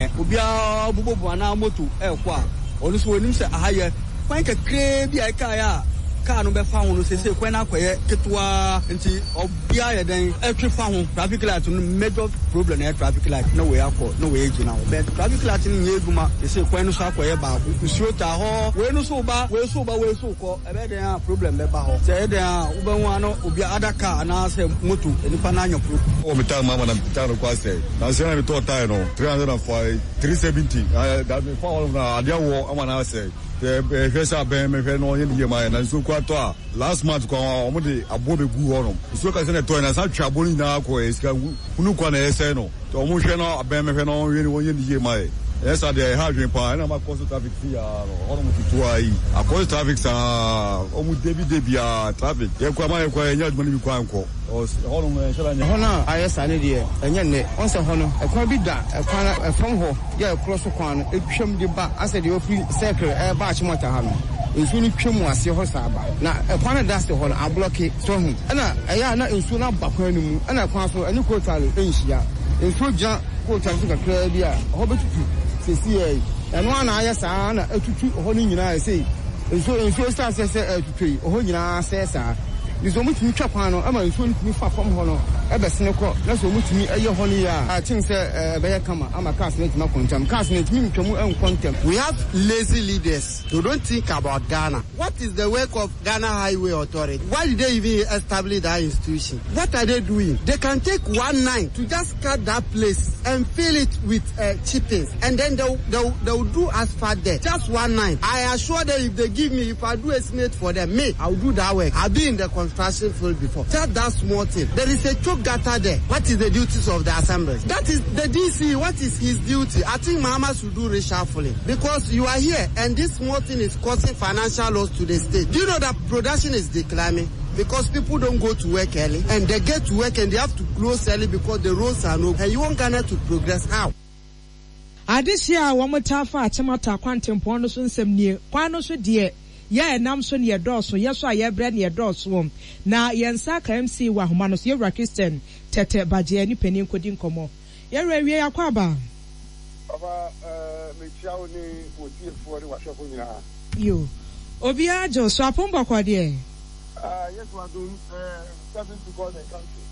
Obiara bobɔbu anaa moto rekɔ a, ɔno nso ɔnim sɛ aha yɛ kwan kakraa bi a ɛkaeɛ a kaa no bɛfa ho no, seesei kwan no akɔyɛ ketewa nti obiara yɛ dɛn ɛtwe fa ho. Traffic light no major problem na ɛyɛ traffic light na wei akɔ na wei agyina hɔ. But traffic light no nyɛ adwuma seesei kwan no so akɔyɛ baako. Nsuo taa hɔ, wei no so ba, wei so ba, wei so kɔ. Ɛbɛyɛ dɛn a problem bɛba hɔ. Sɛ ɛyɛ dɛn a wobɛhu a na obi ada car anaasɛ moto nipa no anya problem. Wɔ me tae mu ama na me tae no kɔ asɛe. Nansa yi na me tɔɔ tae no 305 370 na da me fa hɔ nom na adeɛ awɔ ama no asɛe. Sɛ hwɛ sɛ abɛn me hwɛ na ɔnyɛ ne yie ma yɛn na nsuo kura tɔ a last month kɔ a wɔn de aboɔ bɛ gu hɔ nom. Nsuo kɛse na ɛtɔɛ na san twe aboɔ no nyinaa kɔ ɛ sika hunu kwa na ɛsɛe no. Nti wɔn hwɛ na abɛn me hwɛ na wɔn wɔnyɛ ne yie ma yɛn. Ɛnyɛ saa deɛ ɛha adwene paa ɛna ma kɔ so traffic fi aa no ɛhɔ nom ketewa yi akɔ so traffic saa wɔn debi debi aa traffic yɛ kɔ ama yɛ kɔ yɛ nyɛ adwuma no bi kɔ ankɔ ɛhɔ nom ɛnhyɛ da nyɛ. Ɛhɔ no a ayɛ saa no deɛ ɛnyɛ nnɛ. Woahu sɛ ɛhɔ no, ɛkwan bi da ɛkwan no ɛfam hɔ yɛ a ɛkorɔ so kwan no twam de ba asɛ deɛ wafiri Circle ɛreba Achimota ha no. Nsuo no twam wɔ aseɛ hɔ saa ba. Na ɛkwan no a ɛda ase hɔ no ablɔke. So woahu? Ɛna ɛyɛ a na nsuo no aba kwan no mu, ɛna kwan so ɛne kootal nhyia. Nsuo gyina kootal so kakraa bi a, ɛhɔ bɛtutu seesei yi. Ɛno ara na ayɛ saa na atutu hɔ no nyinaa sei. Nsuo nsuo hyɛ aseɛ sɛ ɛretutɔ yi, ɛhɔ nyinaa sɛe saa. Nti sɛ wɔtumi twa kwan no ma nsuo no tumi fa fam hɔ no bɛsene kɔ na sɛ wɔtumi yɛ hɔ no yie a, I think sɛ ɛbɛyɛ kama ama cars no atumi akɔ ntɛm. Cars no ntumi ntwa mu nkɔ ntɛm. We have lazy leaders they don't think about Ghana. What is the work of Ghana Highway Authority? Why did they even establish that institution? What are they doing? They can take one night to just cut that place and fill it with uh, chippings and then they'll, they'll, they'll do asphalt there. Just one night. I assure them if they give me, if I do estimate for them, me, I'll do that work. I've been in the construction field before. Just that small thing. There is a choke gutter there. What is the duties of the assemblies? That is the DC. What is his duty? I think Mahama should do reshuffling because you are here and this small thing is causing financial loss to the state. Do you know that production is declining? Because people don't go to work early and they get to work and they have to close early because the roads are no and you want Ghana to progress how? Adehye a wɔtaa fa Akyem-Atta kwantempɔn no so nsɛm nie, Kwan no so deɛ, yɛ a ɛnam so ne ɛdɔɔso, yɛ so a yɛbrɛ ne ɛdɔɔso. Na yɛn nsa aka MC wɔ ahoma no so, Yɛwura Christian Tɛtɛ Bagyeɛ ne panin kɔdi nkɔmmɔ. Yɛwura awiei akwaaba. Papa eh, mekyia wo ne wo tiefoɔ ne w'ahwɛfoɔ nyinaa. Yo, obiara gye wo so, apom bɔkɔɔ deɛ? Ah, Yesu adom eh, service to God and country,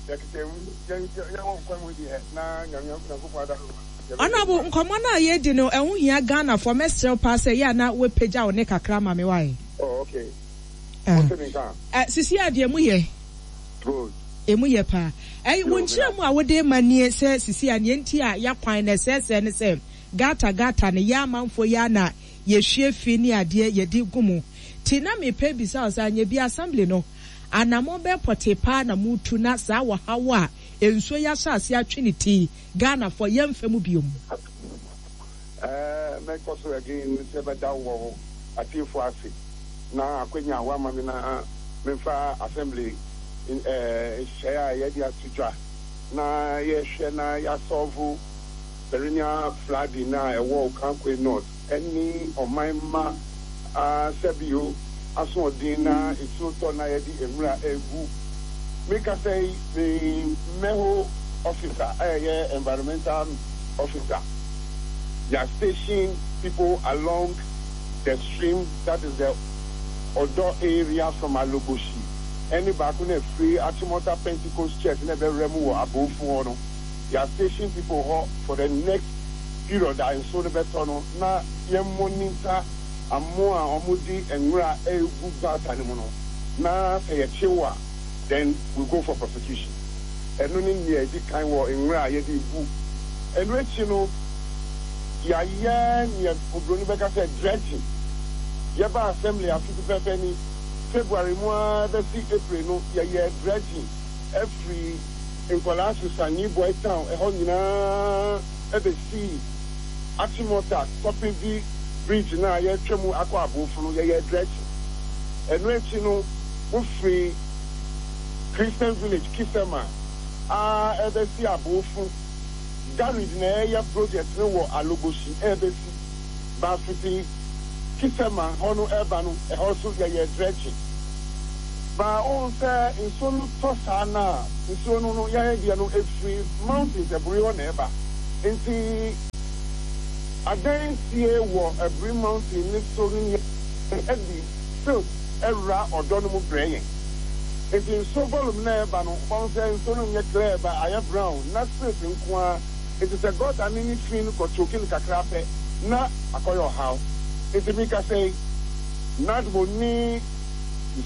yɛkeka mu, yɛn yɛwɔ nkwa mu deɛ, na Nyame Nyankopɔn adom a, yɛbɛyɛ Honourable, adwuma. nkɔmmɔ no a yɛredi no, ɛho hia Ghanafoɔ, mɛsrɛ wo paa sɛ ɛyɛ a na woapagya wo nne kakra ama me, wai? Oh, okay. Mote me nka? Eh, sisi a deɛ moyɛ. Good. Emu yɛ paa. Ɛy, wo Yo, meda nkyerɛmu a wode rema nie sɛ sisi a nea nti a y'akwan no ɛsɛɛsɛɛ ne sɛ gutter gutter no yɛ amanfoɔ yi ara na yɛhwie fi ne adeɛ yɛde gu mu. Nti na mepɛ bisa wo sɛ anyɛ bi assembly no anamɔn bɛn pɔtee paa na moretu na saa ɔhaw a nsuo yi ahyɛ aseɛ atwe ne ti yi Ghanafoɔ yɛmfa mu biom? Ɛɛ, mɛkɔ so again sɛ mɛda wo atiefoɔ ase na akwanya a woama me na memfa assembly nhyehyɛeɛ a yɛde ato dwa na yɛhwɛ na yɛasɔlvo perennial flooding a ɛwɔ Okankwe North ne ɔman mma sɛbio asoɔden na nsuo tɔ na yɛde nwura regu. Me kasa yi, me Mɛho officer a ɛyɛ environmental officer, yɛ station people along the stream that is the Ɔdɔ area from Aloboshi ɛne baako na ɛfiri Achimota Pentecost Church na ɛbɛwura mu wɔ Abofu hɔ no, yɛ station people hɔ for the next period a nsuo no bɛtɔ no na yɛn monitor amoa a wɔde nwura regu gutter no mu no na sɛ yɛkye wo a then we go for prosecution. Ɛno ne nea ɛdi kan wɔ nwura a yɛde regu. Ɛno akyi no yɛayɛ nea oburoni bɛka sɛ dredging. Yɛbaa assembly afe pɛpɛɛpɛ ni, February mu ara bɛsi April no yɛyɛɛ dredging afiri Nkwadaa Susa, New Boy Town ɛhɔ nyinaa bɛsii Achimota Kɔpevi Bridge no a yɛretwa mu akɔ Abofu no, yɛyɛɛ dredging. Ɛno akyi no, wofiri Christian Village, Kisema, ara ɛrebɛsi Abofu. Garid na ɛreyɛ project no wɔ Alogoshi ɛrebɛsi Bafiti Kisema hɔ no ɛreba no, ɛhɔ nso yɛyɛɛ dredging. Ba wohu sɛ nsuo no tɔ saa no a, nsuo no no yɛn deɛ no ɛfiri mountains aburi hɔ na ɛba. Nti adansie wɔ Aburi Mountain no so no nyɛ ɛde silt ɛwura ɔdɔ no mu brɛ yɛn. Nti nsuo volume no a ɛba no wobɛhu sɛ nsuo no nyɛ clear but ayɛ brown na silt nko ara. Nti sɛ gutter no ne fi no kɔ choke no kakra pɛ na akɔyɛ ɔhaw. Nti mekasa yi NADMO ne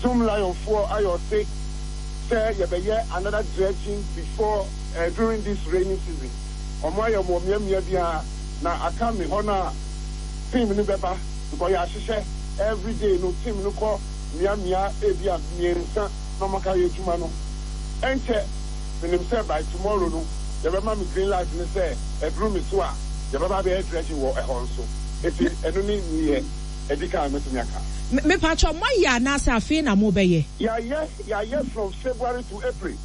Zoomlion foɔ ayɛ ɔse sɛ yɛbɛyɛ another dredging before eh, during this rainy season. Ɔmo ayɛ wɔ mmeammea biara na aka me hɔ no a team no bɛba because yɛahyehyɛ everyday no team no kɔ mmeammea ebia mmiensa na ɔmo aka yɛ adwuma no. Ɛnkyɛ menim sɛ by tomorrow no yɛbɛma me green light no sɛ ɛduru me so a yɛbɛba abɛyɛ dredging wɔ ɛhɔ nso. Nti ɛno ne neɛ ɛdi kan a mɛtumi aka. Mepakyɛw moayɛ anaasɛ afei na mobɛyɛ? Yɛayɛ, yɛayɛ from February to April.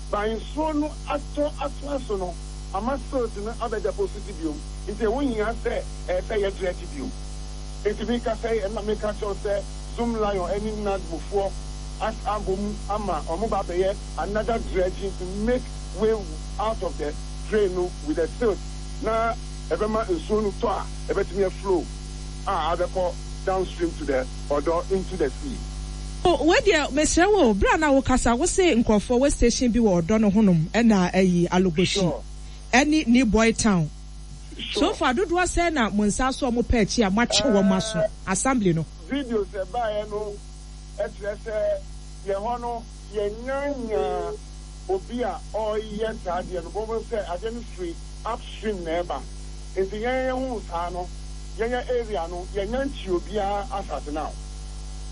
But nsuo no atɔ atoa so no ama silt no abɛ deposit biom nti ɛho hia sɛ ɛyɛ sɛ yɛ dredge biom. Nti mekasa yi ɛna meka kyerɛ wo sɛ Zoomlion ɛne NADMO foɔ as abɔ mu ama ɔmo ba abɛyɛ another dredging to make way out of the drain no with the silt na ɛbɛma nsuo no tɔ a ɛbɛtumi a flow a abɛkɔ downstream to the ɔdɔ into the sea. Oh wei deɛ mesrɛ wo o, berɛ a na wokasa wo se nkurɔfoɔ wɔ station bi wɔ ɔdɔ no honom ɛna ayi Alogboshi ɛne New Boy Town. So far dodoɔ sɛn na mo nsa aso a mo pɛ akyi a moakye wɔn aso? Assembly no. Videos ɛbaeɛ no kyerɛ sɛ yɛn hɔ no yɛnnya nyaa obi a ɔreyɛ saa adeɛ no, wobɛhu sɛ adeɛ no firi upstream na ɛba, nti yɛn yɛhuu saa no yɛn yɛn area no yɛnnya nkyee obiara as at now,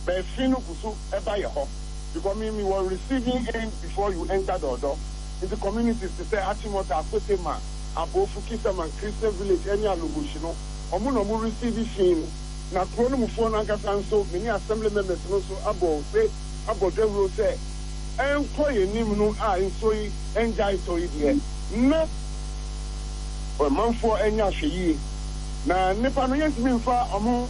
but efi no gu so ba yɛ hɔ because me me wɔ receiving end before you enter Dɔɔdɔ, nti communities te sɛ Achimota, Akotema, Abofu, Kisaman, Christian village ɛne Alogoshi no wɔn na wɔn receive fi no, na kuro no mufoɔ no ankasa nso me ne assembly members no nso abɔ ose abɔ dawuro sɛ ɛnkɔ yɛn anim no a nsuo yi ngyae tɔ yi deɛ na ɔmanfoɔ nyɛ ahwɛyie na nnipa no yɛntumi mfa wɔn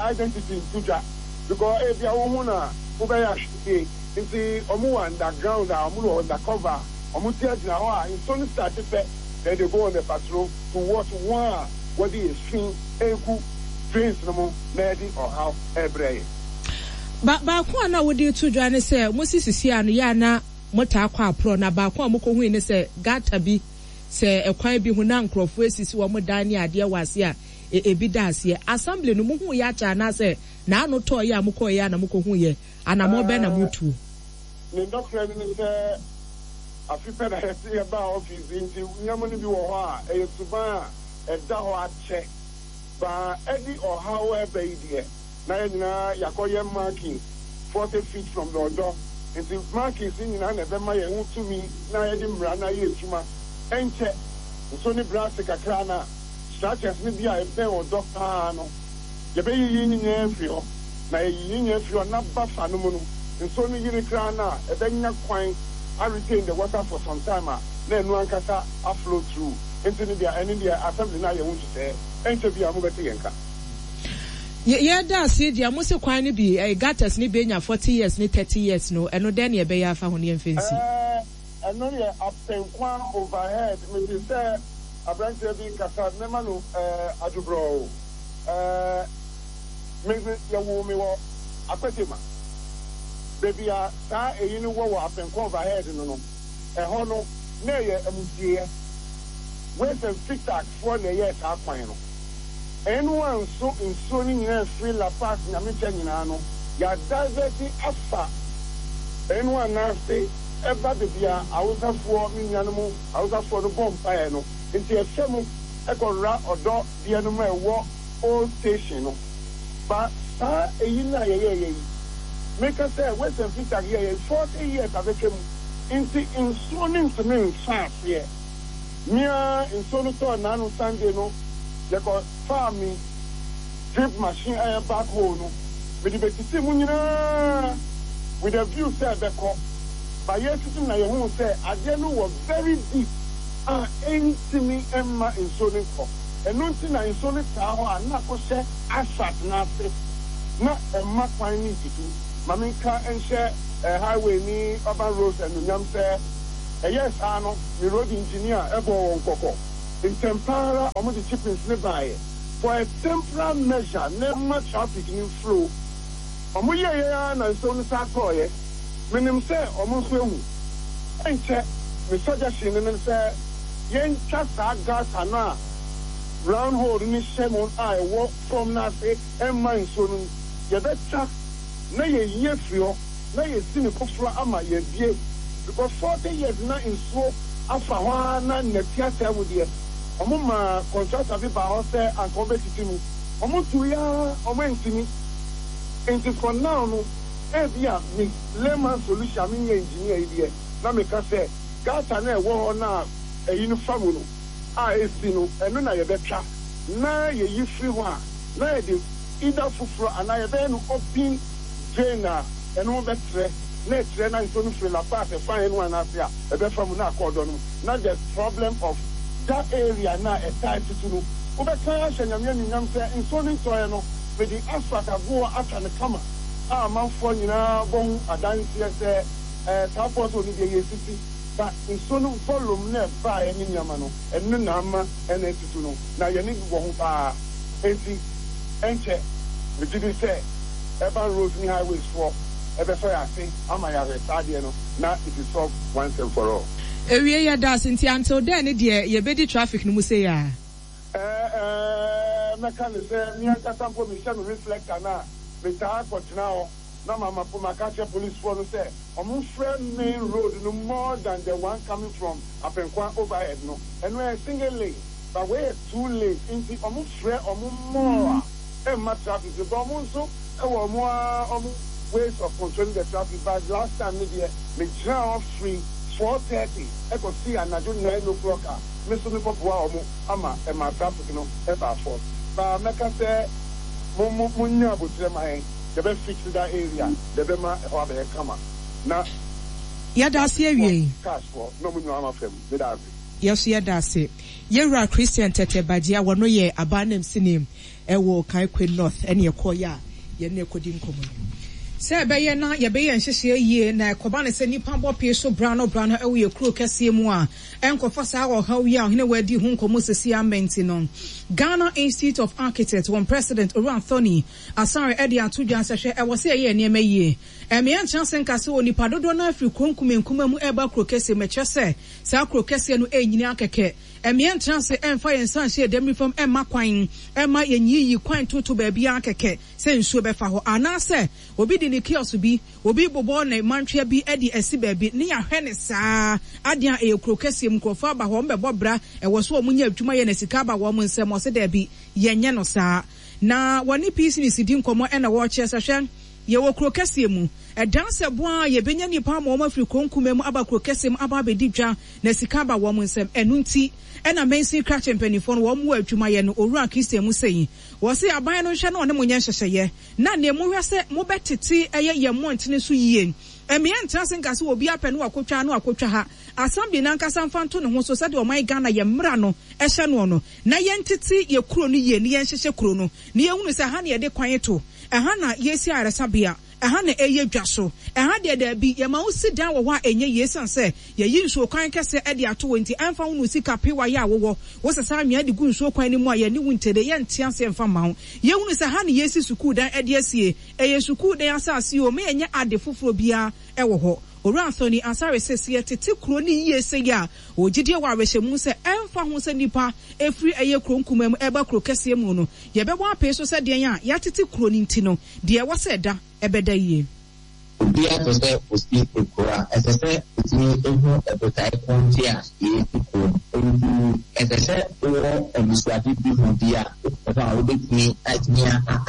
identity nto dwa because ebia wo ho na wobɛyɛ ahwɛyie nti wɔn wɔ underground a wɔn wɔ undercover a wɔn ti agyina hɔ a nsuo no start pɛ then they go on the patrol to watch wɔn a wɔde efi egu drains no mu na ɛde ɔhaw ɛrebrɛ yɛn. Ba baako a na wode reto dwa ne sɛ mosi sisi a no yɛ a na motaa kɔ aporɔ na baako a mokohui ne sɛ gutter bi sɛ ɛkwan bi ho na nkurɔfoɔ asisi wɔn dan ne adeɛ wɔ aseɛ a e ebi da aseɛ. Assembly no mohuuiɛ akyɛ anaasɛ n'ano tɔeɛ a mokɔeɛ a na mokohuiɛ? Anammɔn bɛn na motuo? Ne nɔkorɛ no ne sɛ afe pɛ na yɛte yɛbaa office yi nti nneɛma no bi wɔ hɔ a ɛyɛ suban a ɛda hɔ akyɛ ba ɛde ɔhaw ɛba yi deɛ na yɛn nyinaa yɛakɔyɛ markings 40 feet from the ɔdɔ nti markings no nyinaa na ɛbɛma yɛn ho tumi na yɛde mmara no ayɛ adwuma. Ɛnkyɛ nso ne brɛ ase kakra na structures no bi a ɛbɛn ɔdɔ paa no yɛbɛyiyi ne nyinaa afiri hɔ na yɛyiyi ne nyinaa firi hɔ na ba fa no mu no nsuo no yiri koraa no a ɛbɛnya kwan a retain the water for some time a na ɛno ankasa a flow through nti no deɛ ɛno deɛ assembly no ayɛ ho nhyehyɛeɛ ɛnkyɛ biara mobɛte yɛn nka. Yɛ yɛda ase deɛ mo se kwan no bi ɛɛ gutters no bi anya 40 years ne 30 years no ɛno dɛn na yɛbɛyɛ afa ho na yɛmfa nsi. Ɛɛ ɛno yɛ Apenkwa overhead mete sɛ abranteɛ bi kasa mɛma no ɛɛ adwobrɔɔ ɛɛ me me yɛwoo me wɔ Akwetema baabi a saa ɛyi no wɔ wɔ Apenkwa overhead no no ɛhɔ no na ɛyɛ amusieɛ Waste and Fitac foɔ na ɛyɛɛ saa kwan no. Ɛno anso nsuo no nyinaa firi La Paz Nyamekyɛ nyinaa no yɛadivɛte afa ɛno anaase ɛba baabi a Hausafoɔ me nuanom Hausafoɔ no bɔ mpaeɛ no nti ɛfɛ mu ɛkɔwora ɔdɔ deɛ no ma ɛwɔ old station no ba saa ɛyi no a yɛyɛɛyɛ yi meka sɛ Western Fitag yɛɛyɛ yi 40 years abɛtwa mu nti nsuo no ntumi nfa aseɛ. Me ara nsuo no tɔɔ naano Sunday no yɛkɔ faa me drip machine a ɛyɛ back hole no mede bɛsisii mu nyinaa with a view sɛ ɛbɛkɔ but yɛresisi no na yɛhuu sɛ adeɛ no wɔ very deep a ɛntumi mma nsuo no nkɔ ɛno nti na nsuo no taa hɔ a na akɔhyɛ asphalt no ase na ɛmma kwan no ntutu. Ma menka nhyɛ highway ne urban roads anuonyam sɛ Ɛyɛɛ saa no, me road engineer bɔɔ wɔn kɔkɔ. Ntɛmpa ara wɔde chippings no baeɛ for a temporal measure na ɛmma traffic no mflow. Wɔyɛeɛ ara na nsuo no san tɔeɛ. Menim sɛ wɔn nso ahu. Ɛnkyɛ, me suggestion no ne sɛ yɛntwa saa gutter no a round hole no hyɛ mu a ɛwɔ fam no ase mma nsuo no, yɛbɛtwa na yɛyi afiri hɔ na yɛsi no foforɔ ama yɛabue because 40 years na nsuo afa hɔ ara na nnɛte asɛe mu deɛ, wɔn maa contractor bi baa hɔ sɛ anka wɔbɛtete mu, wɔn tuiɛ ara wɔn antumi. Nti for now no ebia me layman solution a menyɛ engineer yi deɛ na meka sɛ gutter no a ɛwɔ hɔ no a ɛyi no fa mu no a ɛsi no ɛno na yɛbɛtwa na yɛyi firi hɔ a na yɛde either foforɔ anaa yɛbɛyɛ no open drain a ɛno ho bɛtrɛ na ɛtrɛ na nsuo no firi La Paz ɛfa yɛn ho anaase a ɛbɛfa mu na akɔ ɔdɔ no mu na the problem of that area no a ɛtaa tutu no wobɛka ahyɛ Nyame anuonyam sɛ nsuo no ntɔeɛ no mede asphalt agoɔ atwa no kama a amanfoɔ nyinaa bɔ ho adanseɛ sɛ ɛɛ saa pothole no deɛ yɛsisi but nsuo no volume no a ɛbaeɛ ne nneɛma no ɛno na ama ɛna atutu no na yɛne wɔ ho paa enti ɛnkyɛ megye di sɛ Urban Roads ne Highways foɔ ɛbɛsɔ yɛn ase ama yɛahwɛ saa adeɛ no na it is solved once and for all. Ewie yɛdaase nti until then no deɛ yɛbɛdi traffic no mu sei aa. Ɛɛ ɛɛ mɛka no sɛ me ankasa mpo mehyɛ me reflector no a, metaa kɔtena hɔ na mama maka akyerɛ policefoɔ no sɛ wɔmfrɛ main road no more than the one coming from Apenkwa overhead no. Ɛno ɛyɛ single lane but wei yɛ two lanes nti wɔfrɛ wɔn more a ɛmma traffic no but wɔn nso wɔ wɔn ara wɔn ways of controlling the traffic but last time no deɛ megyinaa hɔ firi 4:30 kɔsii anadwo 9 o'clock a me nso mekɔboaa wɔn ama ɛmaa traffic no baa fam. But mɛka sɛ mo mo monnya aboterɛ ma yɛn, yɛbɛ fix that area, yɛbɛma ɛhɔ abɛyɛ kama na Yɛda ase awiei. Cars foɔ na ɔmo nyinaa ama fam. Meda ase. Yɛso yɛda ase. Yɛwura Christian Tɛtɛ Bagyea, wɔno yɛ Aban Namsini wɔ Okaikwe North ɛne ɛkɔɔeɛ a yɛne no ɛkɔdi nkɔmmɔ yi. Sɛ ɛbɛyɛ na yɛbɛyɛ nhyehyɛɛ yie na ɛkɔba no sɛ nnipa bɔ pee so bra no bra no wɔ yɛn kuro kɛseɛ mu a, ɛnkɔfa saa ɔhaw yi a Ɔhene Wadi ho nkɔmmɔ seesei amma nti no, Ghana Institute of Architects wɔn President Owura Anthony Asare de ato dwa sɛ hwɛ ɛwɔ sɛ yɛyɛ nneɛma yie. Ɛmmea nkyerɛ ase nka sɛ onipa dodoɔ no ara firi kuro nkumankumaa mu reba kuro kɛseɛ mu, ɛkyerɛ sɛ saa kuro kɛseɛ no renyini ara kɛkɛ. Ɛmmea ntra ase mfa yɛn nsa nhyɛ yɛn dɛm fam mma kwan mma yɛnyiyi kwan ntoto baabiara kɛkɛ sɛ nsuo bɛfa hɔ. Anaasɛ obi de ne kiosk bi, obi rebobɔ ne mantwea bi de asi baabi ne yɛahwɛ no saa. Adeɛ a ɛyɛ kuro kɛseɛ mu, nkurɔfoɔ aba hɔ, wɔbɛbɔ bra, ɛwɔ sɛ wɔnya adwuma yɛ na sika aba wɔn nsam. Ɔse daabi, yɛnyɛ no saa. Na wɔne Peace di nkɔmmɔ na wɔrekyerɛ sɛ hwɛ, yɛwɔ kuro kɛseɛ mu, ɛdan sɛ boa a yɛbɛnya nnipa ama wɔn afiri kuro nkumaa mu aba kuro kɛseɛ mu aba abɛdi dwa na sika aba wɔn nsam. Ɛno nti na mansin krakye mpanimfoɔ no wɔn wɔ adwumayɛ no Owura Christian mu sei. Wɔse aban no nhwɛ na ɔne mo nyɛ nhyehyɛeɛ na neɛ mohwɛ sɛ mobɛtete ɛyɛ yɛn mmɔntene so yie. Mmea ntena ase nka sɛ obiara pɛ na wakɔtwa ha na wakɔtwa ha. Assembly no ankasa mfa nto ne ho so sɛdeɛ ɔman Ghana yɛn mmara no hyɛ noɔ no na yɛntete yɛn kuro no yie na yɛnhyehyɛ kuro no na yɛhunu sɛ ɛha na yɛde kwan to, ɛha na yɛsi ayaresabea. Ɛha na ɛyɛ dwa so. Ɛha deɛ daabi, yɛma wo si dan wɔ hɔ a ɛnyɛ yie ɛsiane sɛ yɛayi nsuo kwan kɛseɛ de ato hɔ nti ɛmfa ho ne wo sika pewa yɛ a wowɔ, wosesa anwea de gu nsuo kwan no mu a yɛne wo ntɛde, yɛnte aseɛ mfa mma wo. Yɛhunu sɛ ha na yɛresi sukuu dan de asie, ɛyɛ sukuu dan asase o, ma yɛnyɛ ade foforɔ biara wɔ hɔ. Owura Anthony Asare se sɛ yɛtete kuro no yie sei a, ɔwɔ gyidie wɔ awerɛhyɛmu sɛ ɛmfa ho sɛ nnipa firi ɛyɛ kuro nkumaa mu reba kuro kɛseɛ mu no, yɛbɛbɔ apee so sɛ deɛn a yɛatete kuro no nti no, deɛ ɛwɔ sɛ ɛda, ɛbɛda yie. Obiara pɛ sɛ osi kuro a, ɛsɛ sɛ otumi hu botae ko nti a yɛresi kuro no. Enti ɛsɛ sɛ wowɔ anisoade bi ho bi a wokɔ hɔ a wobɛtumi atumi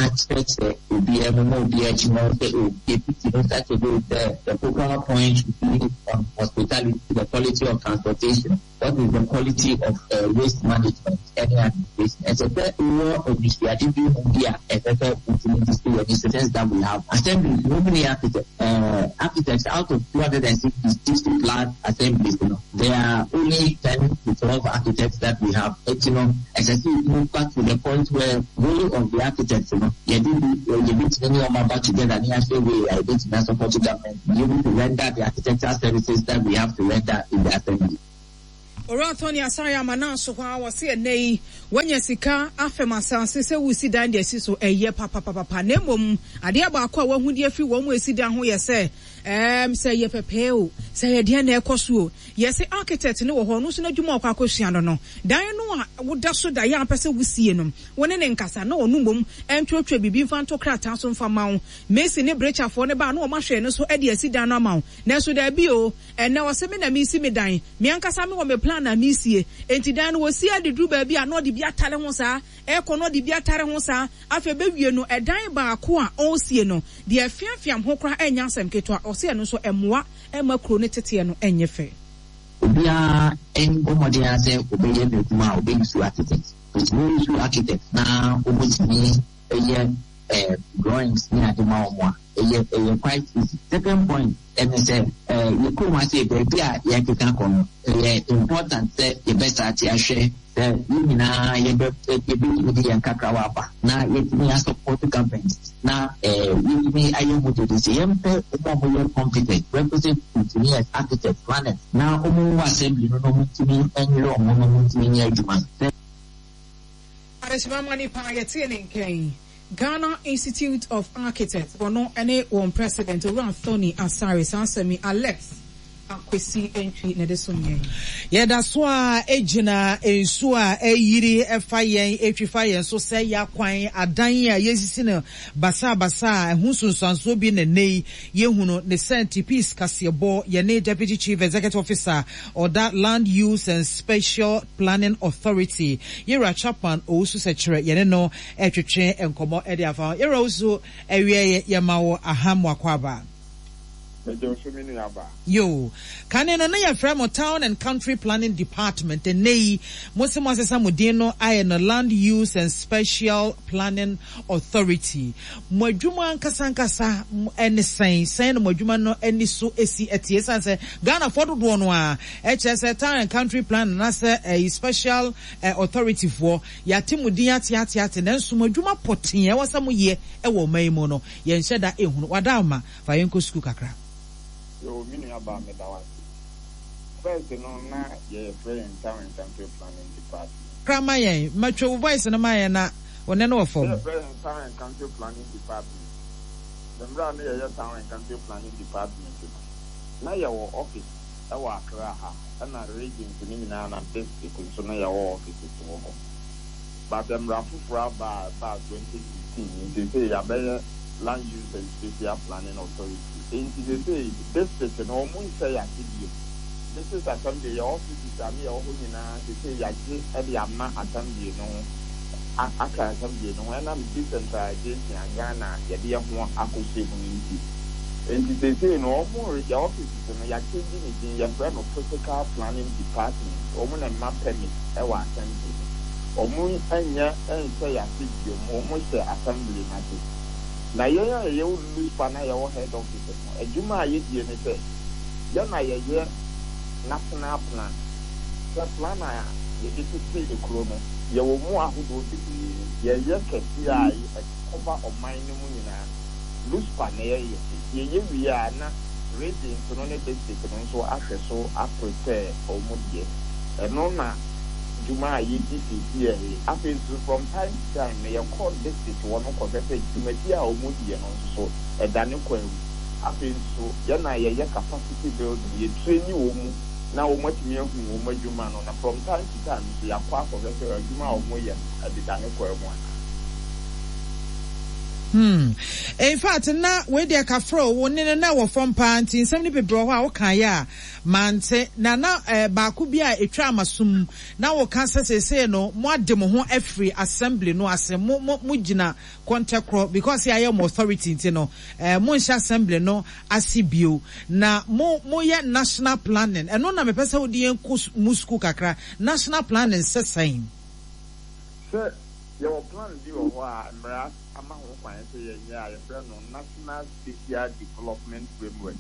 akyerɛkyerɛ obiara mu ma obiara atumi ahu sɛ oh, yɛsisi no such a way sɛ the focal point should be on hospitality, the quality of transportation. What is the quality of waste management ɛne administration? Ɛsɛ sɛ wowɔ anisoade bi ho bi a ɛsɛ sɛ wotumi de si w'ani so since that we have assemblies no many architects uh, architects out of 260 60 plus assemblies no there are only 10 to 12 architects that we have. Eti no ɛsɛ sɛ yɛtumi ba to the point where role of the architects no yɛde bi yɛbɛtumi ne wɔn aba together ne ahwɛ way a yɛbɛtumi asupɔto government be able to render the architectural services that we have to render in the assembly. Owura Tony Asare ama no aso hɔ ara, ɔse ɛnnɛ yi woanya sika afɛm asase sɛ woresi dan de asi so, ɛyɛ papapapapa na mmom adeɛ baako a woahu de afiri wɔn a ɛsi dan ho yɛ sɛ ɛɛm sɛ ɛyɛ pɛpɛɛ o, sɛ ɛyɛ deɛn na ɛrekɔ so o, yɛse architect no wɔ hɔ, ɔno nso n'adwuma a ɔkɔ akɔsua no no, dan no a woda so da yɛ a wopɛ sɛ wosie no, wo ne no nkasa na ɔno mmom ntwerɛtwerɛ biribi mfa nto krataa so mfa mma wo. Mason ne brekyafoɔ no ba a na wɔahwɛ no so de asi dan no ama wo, nanso daabi o, Ɛnnɛ ɔse me na meresi me dan, me ankasa mewɔ me plan a meresie. Enti dan no wɔsi ara de duru baabi a na ɔde bi atare ho saa, ɛrekɔ na ɔde bi atare ho saa, afei bɛwie no ɛdan baako a ɔresie no, deɛ ɛfeafeam ho koraa ɛnyɛ asɛm ketewa, ɔse ɛno nso ɛmmoa mma kuro no teteɛ no nyɛ fɛ. Obiara mbɔ mmɔden ara sɛ ɔbɛyɛ n'adwuma a ɔbɛ use architect. Nti wo use architect na wɔtumi yɛ drawings ne ade ma wɔn a, ɛyɛ ɛyɛ quite easy. Second point ɛne sɛ yɛ kurom ha sei baabi a yɛrekeka kɔ no ɛyɛ important sɛ yɛbɛ start ahwɛ sɛ yɛn nyinaa yɛbɛ yɛbɛtumi de yɛn kakrawa aba na yɛtumi asupporт government na yɛtumi ayɛ ho dede sɛ yɛmpɛ wɔn a wɔyɛ competent, requisite engineers, architects, planners na wɔn wɔ assembly no na wɔntumi nyere wɔn ho na wɔntumi nyɛ adwuma no. Sɛ. Adehyema ma nipa a yɛtee ne nka yi, Ghana Institute of Architects, ɔno ne wɔn President, Owura Anthony Asare. Saa asɛm yi, Alex Akwesi Antwi na ɛde som yɛn. Yɛda so ara gyina nsuo a ɛreyiri fa yɛn, ɛretwi fa yɛn so sɛ yɛn akwan, adan a yɛresisi no basabasa a ɛho nsunsuansoɔ bi na nnɛ yi yɛhunu ne sɛ Peace kaseɛbɔ yɛne Deputy Chief Executive Officer ɔda Land Use and Spatial Planning Authority, Yewura Chapman Owusu Sɛkyerɛ yɛne no retwetwe nkɔmmɔ de afa ho. Yewura Owusu, awiɛ yɛma wo aha mo akwaaba. Megye wo so me nua baa. Yoo. Kane no na yɛfrɛ mo Town and Country Planning Department, ɛnnɛ yi mo se moasesa mo din no ayɛ no Land Use and Spatial Planning Authority. Mo adwuma ankasa ankasa ne sɛn? Sɛn na mo adwuma no ani so si teɛ? Esiane sɛ Ghanafoɔ dodoɔ no ara kyerɛ sɛ Town and Country Planning anaasɛ ɛyi Special Authority foɔ, yɛate mo din ate ate ate nanso mo adwuma pɔtee a ɛwɔ sɛ moyɛ wɔ ɔman yi mu no, yɛnhyɛ da nhunu. Wadaama, fa yɛn kɔ sukuu kakra. Yoo me nua baa meda wo ase. First no na yɛfrɛ yɛn Town and Country Planning Department. Kra ma yɛn, ma twa wo voice no ma yɛn na wo nne no wɔ fam. Na yɛfrɛ yɛn Town and Country Planning Department. Na mmerɛ a na yɛyɛ Town and Country Planning Department no, na yɛwɔ office wɔ Accra ha ɛna regions no nyinaa na district nso na yɛwɔ offices wɔ hɔ. But mmara foforɔ aba a ɛbaa 2015 yi, seesei yɛabɛyɛ Land Use and Spatial Planning Authority. Enti seesei district no wɔn nhyɛ yɛn ase bio. District Assembly, yɛn offices a ne yɛwɔ hɔ nyinaa seesei yɛagye de ama Assembly no a aka Assembly no ho ɛnam decentralization a Ghana yɛde yɛn ho akɔhyɛ mu no nti. Enti seesei no wɔn yɛn offices no yɛakyɛngye ne din, yɛfrɛ no Physical Planning Department. Wɔn na ɛma permit wɔ Assembly no. Wɔn nyɛ nhyɛ yɛn ase bio, wɔn hyɛ Assembly no ase. Na yɛn a yɛwɔ Luspa na yɛwɔ head office no, adwuma a yɛdie ne sɛ, yɛn na yɛyɛ national plan. Sɛ plan a yɛde tete kuro no, yɛwɔ mu ahodoɔ bebree. Yɛyɛ kɛseɛ a ɛkɔva ɔman no mu nyinaa no, Luspa na yɛyɛ. Yɛyɛ wie a na regions no ne district no nso ahwɛ so a prepare wɔn deɛ. Ɛno na dwuma a yɛdi seesei yi. Afei nso from time to time no yɛkɔ district hɔ no kɔhwɛ sɛ dwumadie a wɔdiiɛ no nso so ɛda ne kwan mu. Afei nso yɛn na yɛyɛ capacity building, yɛ traini wɔn mu na wɔn atumi ahu wɔn adwuma no na from time to time nso yɛakɔ akɔhwɛ sɛ adwuma a wɔyɛ no ɛdeda ne kwan mu anaa. Hmm. In fact, na wei deɛ kafra o, wo nne no na ɛwɔ fam paa nti nsɛm no bebree wɔ hɔ a wokaeɛ a mante. Na na eh, baako bi a ɛtwaa m'aso mu, na woka sɛ seesei no moade mo ho afiri assembly no ase, mo, mo, mogyina kɔntɛkorɔ because yɛayɛ mo authority nti no, eh, monhyɛ assembly no ase bio. Na mo, moyɛ national planning. Ɛno na mepɛ sɛ wode yɛn kɔ mu sukuu kakra. National planning sɛ sɛn? Sɛ yɛwɔ plan bi wɔ hɔ a mmara ama ho kwan sɛ yɛnyɛ a yɛfrɛ no National Spatial Development Framework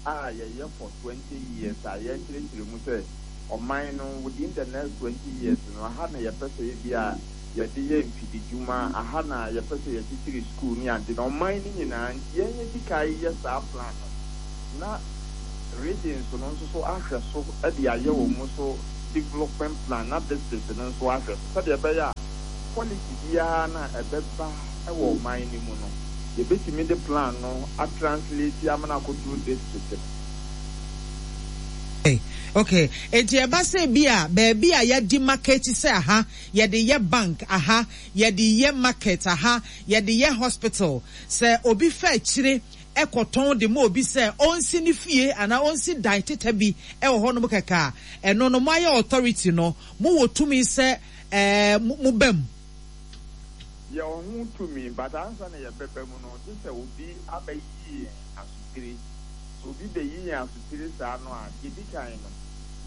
a yɛyɛ for 20 years a yɛrekyerɛkyerɛ mu sɛ ɔman no within the next 20 years no aha na yɛpɛ sɛ ebia yɛde yɛ mfididwuma, aha na yɛpɛ sɛ yɛkyekyere sukuu ne ade na ɔman no nyinaa nti yɛn yɛdi kan yɛ saa plan no na regions no nso so ahwɛ so de ayɛ wɔn so. development plan na district no nso ahwɛ so sɛdeɛ ɛbɛyɛ a policy biara no a ɛbɛba wɔ ɔman no mu no, yɛbɛtumi de plan no a translate ama no akɔduru district no. Ok, enti ɛba sɛ bi a baabi a yɛademarcate sɛ aha yɛde yɛ bank, aha yɛde yɛ market, aha yɛde yɛ hospital, sɛ obi fa akyire kɔtɔn de ma obi sɛ ɔnsi ne fie anaa ɔnsi dan tetɛ bi wɔ hɔnom kɛkɛ a, ɛno no moayɛ authority no, mowɔ tumi sɛ moba mu? Yɛwɔ ho tumi, but ansa na yɛbɛba mu no, gye sɛ obi abɛyi yɛn asotire. Sɛ obi bɛyi yɛn asotire saa no a, deɛ ɛdi kan no,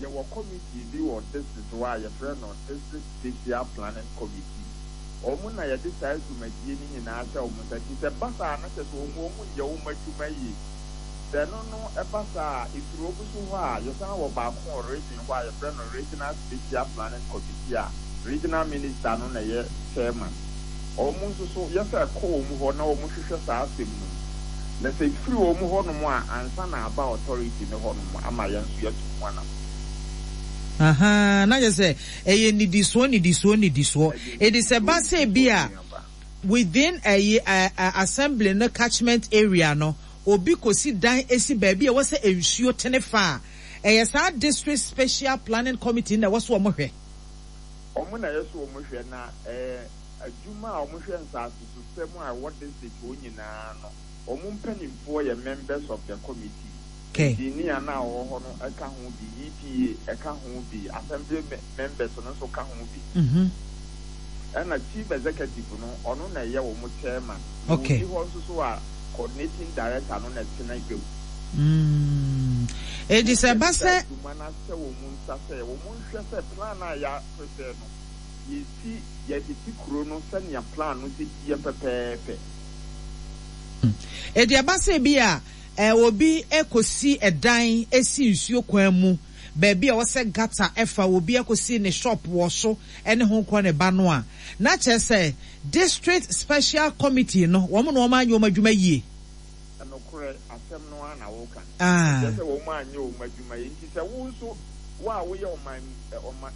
yɛwɔ committee bi wɔ district hɔ a yɛfrɛ no District Spatial Planning Committee. Wɔn na yɛde saa dwumadie no nyinaa hyɛ wɔn nsa. Nti sɛ ɛba saa a, na kyerɛ sɛ wɔn wɔn nyɛ wɔn adwuma yie. Sɛ ɛno no ɛba saa a, ɛfiri wɔn so hɔ a, yɛsan wɔ baako wɔ region hɔ a yɛfrɛ no Regional Spatial Planning Committee a Regional Minister no na ɛyɛ chairman. Wɔn nso so, yɛsɛ ɛkɔ wɔn hɔ na wɔhwehwɛ saa asɛm no mu. Na sɛ ɛfiri wɔn hɔnom a, ansa na aba authority no hɔnom ama yɛn nso yɛatu ho anamɔn. Ahaa, na kyerɛ sɛ ɛyɛ nnidisoɔ nnidisoɔ nnidisoɔ. Enti sɛ ɛba sɛ ebi a within ɛyi ɛ assembly no catchment area no, obi kɔsi dan si baabi a ɛwɔ sɛ nsuo tene fa a, ɛyɛ saa district spatial planning committee no na ɛwɔ sɛ wɔn hwɛ. Wɔn na ɛyɛ sɛ wɔn hwɛ, na ɛɛ adwuma a wɔhwɛ nsasesosɛm a ɛwɔ district hɔ nyinaa no, wɔn mpanimfoɔ yɛ members of the committee. Engineer no a ɔwɔ hɔ no ka ho bi, EPA ka ho bi, assembly members no nso ka ho bi. Ɛna chief executive no, ɔno na ɛyɛ wɔn chairman. Na ɔnni hɔ nso so a, coordinating director no na ɛtena dwam. Enti sɛ ɛba Wɔn sɛ. adwuma no ahyɛ wɔn nsa sɛ wɔnhwɛ sɛ plan a yɛ prepare no, yɛsi, yɛtete kuro no sɛnea plan no si teɛ pɛpɛɛpɛ. Enti ɛba sɛ ebia obi kɔsi dan si nsuo kwan mu, baabi a ɛwɔ sɛ gutter fa, obi akɔsi ne shop wɔ so ne ho korɔ ne ba no a, na kyerɛ sɛ District Special Committee no, wɔn na wɔn anyɛ wɔn adwuma yie. Nokorɛ, asɛm no ara na woka. Ɛkyerɛ sɛ wɔn anyɛ wɔn adwuma yie. Nti sɛ wo nso, wo a woyɛ ɔman, ɔma,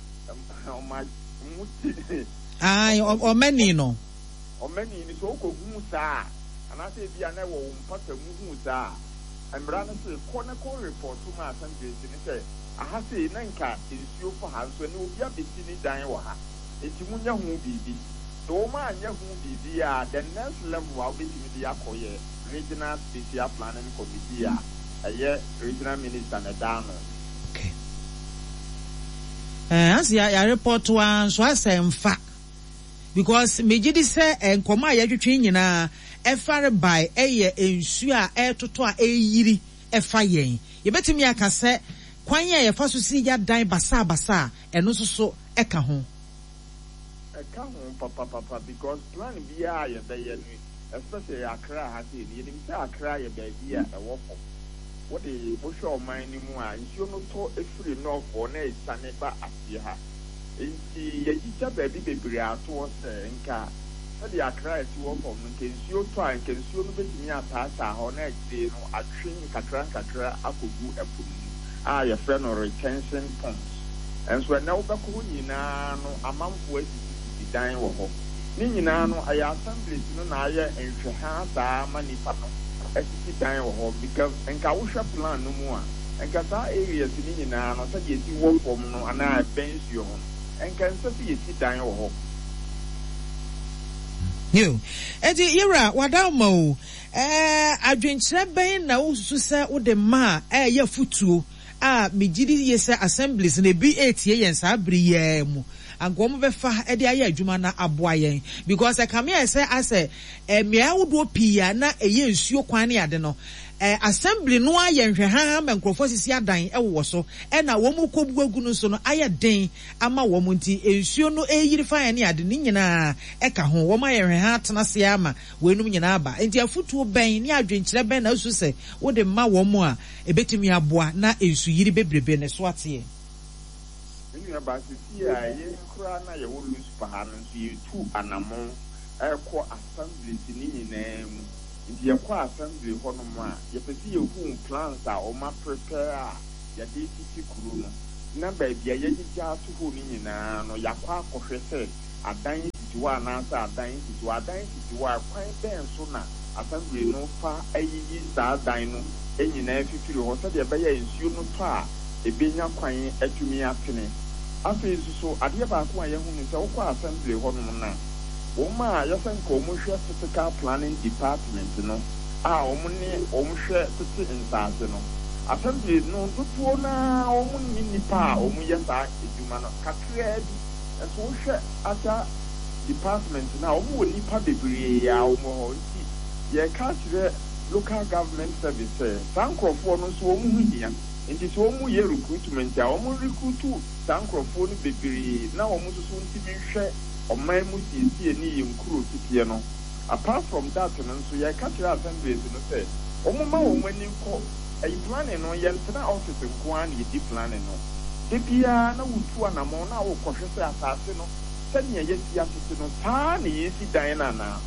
ɔma, mo ti. Ae, ɔmani no. Ɔmanni no, sɛ wokohu saa a, anaasɛ ebia na ɛwɔ wo mpata mu hu saa a, mmara no se kɔ na kɔ repɔto ma asɛmdwesi no sɛ, aha sei na nka nsuo fa ha, nso ɛnnɛ obi abɛsi ne dan wɔ ha, enti monyɛ ho biribi. Sɛ wɔn anyɛ ho biribi a, the next level a wobɛtumi de akɔ yɛ Regional Spatial Planning Committee a ɛyɛ Regional Minister na ɛda ano. Okay. Eh, ase ya ya report wa nso asɛ mfa. Because megye di sɛ nkɔmmɔ a yɛtwetwe nyinaa ɛfare by ɛyɛ nsuo a ɛretotɔ a ɛreyiri ɛfa yɛn. Yɛbɛtumi aka sɛ kwan a yɛfa so si ya dan basabasa a ɛno nso so ɛka ho. Ɛka ho papapapa because plan biara a yɛbɛyɛ no especially Accra ha sei no yɛnim sɛ Accra yɛ baabi a ɛwɔ fam. Wode wohwɛ ɔman no mu a nsuo no tɔ firi north hɔ na ɛsiane ba aseɛ ha. Enti yɛagyigya baabi bebree ato hɔ sɛ nka sɛdeɛ Accra si wɔ fam no, nka nsuo tɔ a, nka nsuo no bɛtumi ataataa hɔ na akyire no atwe nkakrankakra akɔgu ɛpo no mu a yɛfrɛ no retention ponds. Nso ɛnnɛ wobɛkɔ hɔ nyinaa no amanfoɔ asisisisi dan wɔ hɔ. Ne nyinaa no ɛyɛ assemblies no na ayɛ nhwɛhaa saa ma nnipa no asisi dan wɔ hɔ because nka wohwɛ plan no mu a, Nka saa areas no nyinaa no sɛdeɛ ɛsi wɔ fam no anaa ɛbɛn nsuo ho no, nka ɛnsɛ sɛ yɛsi dan wɔ hɔ. Yiw. Enti, yewura, w'adaoma o, ɛɛ, adwenkyerɛ bɛn na wususu sɛ wode ma a ɛyɛ afotuo a megye di yie sɛ Assemblies no ebi retie yɛn saa bere yi ara mu, anka wɔbɛfa de ayɛ adwuma na aboa yɛn? Because ɛkame ayɛ sɛ asɛ mmeae ahodoɔ pii a na ɛyɛ nsuo kwan ne ade no, Assembly no ayɛ nhwɛhaha ma nkurɔfoɔ asisi adan wowɔ so, ɛna wɔn rekɔbu agu no nso no ayɛ den ama wɔn nti nsuo no reyiri fa yɛn ne ade ne nyinaa ɛka ho. Wɔn ayɛ nhwɛhaha atena ase ara ma weinom nyinaa aba. Nti afotuo bɛn ne adwenkyerɛ bɛn na wosusu sɛ wode ma wɔn a ɛbɛtumi aboa na nsuyiri bebrebe no so ateɛ? Me nuabaa, seesei a yɛn koraa no a yɛwɔ Luspa ha no nso yɛretu anammɔn rekɔ assemblies no nyinaa mu. Nti yɛkɔ assembly hɔ nom a, yɛpɛ sɛ yɛhu plans a wɔn a prepare a yɛde retete kuro no. na baabi a yɛagyigya ato hɔ no nyinaa no, yɛakɔ akɔhwɛ sɛ adan sisi hɔ anaasɛ adan nsisi hɔ. Adan sisi hɔ a, kwan bɛn so na Assembly no fa yiyi saa dan no nyinaa fifiri hɔ sɛdeɛ ɛbɛyɛ a nsuo no tɔ a, ɛbɛnya kwan atumi atene? Afei nso so, adeɛ baako a yɛahu ne sɛ, wokɔ Assembly hɔnom no a, wɔn a yɛsɛ nka wɔhwɛ Physical Planning Department no a wɔne wɔn hwɛ tete nsaase no, Assembly no dodoɔ no ara wɔnni nnipa a wɔyɛ saa adwuma no, kakraa bi. Nanso wohwɛ other department no a, wɔwɔ nnipa bebree a wɔwɔ hɔ. Nti yɛreka akyerɛ Local Government Service sɛ saa nkorɔfoɔ no nso wɔn ho hia. Nti sɛ wɔyɛ recruitment a, wɔn recruit saa nkorɔfoɔ no bebree na wɔn nso so ntumi nhwɛ ɔman mu siesie ne yɛn nkuro teteɛ no. Apart from that no nso, yɛreka kyerɛ assemblies no sɛ wɔmma wɔn ani nkɔ ayi planning no, yɛntena office nko ara na yɛdi planning no. Da biara na wotu anamɔn na wokɔhwɛ sɛ asase no sɛnea yɛasi atete no saa ara na yɛresi dan no anaa.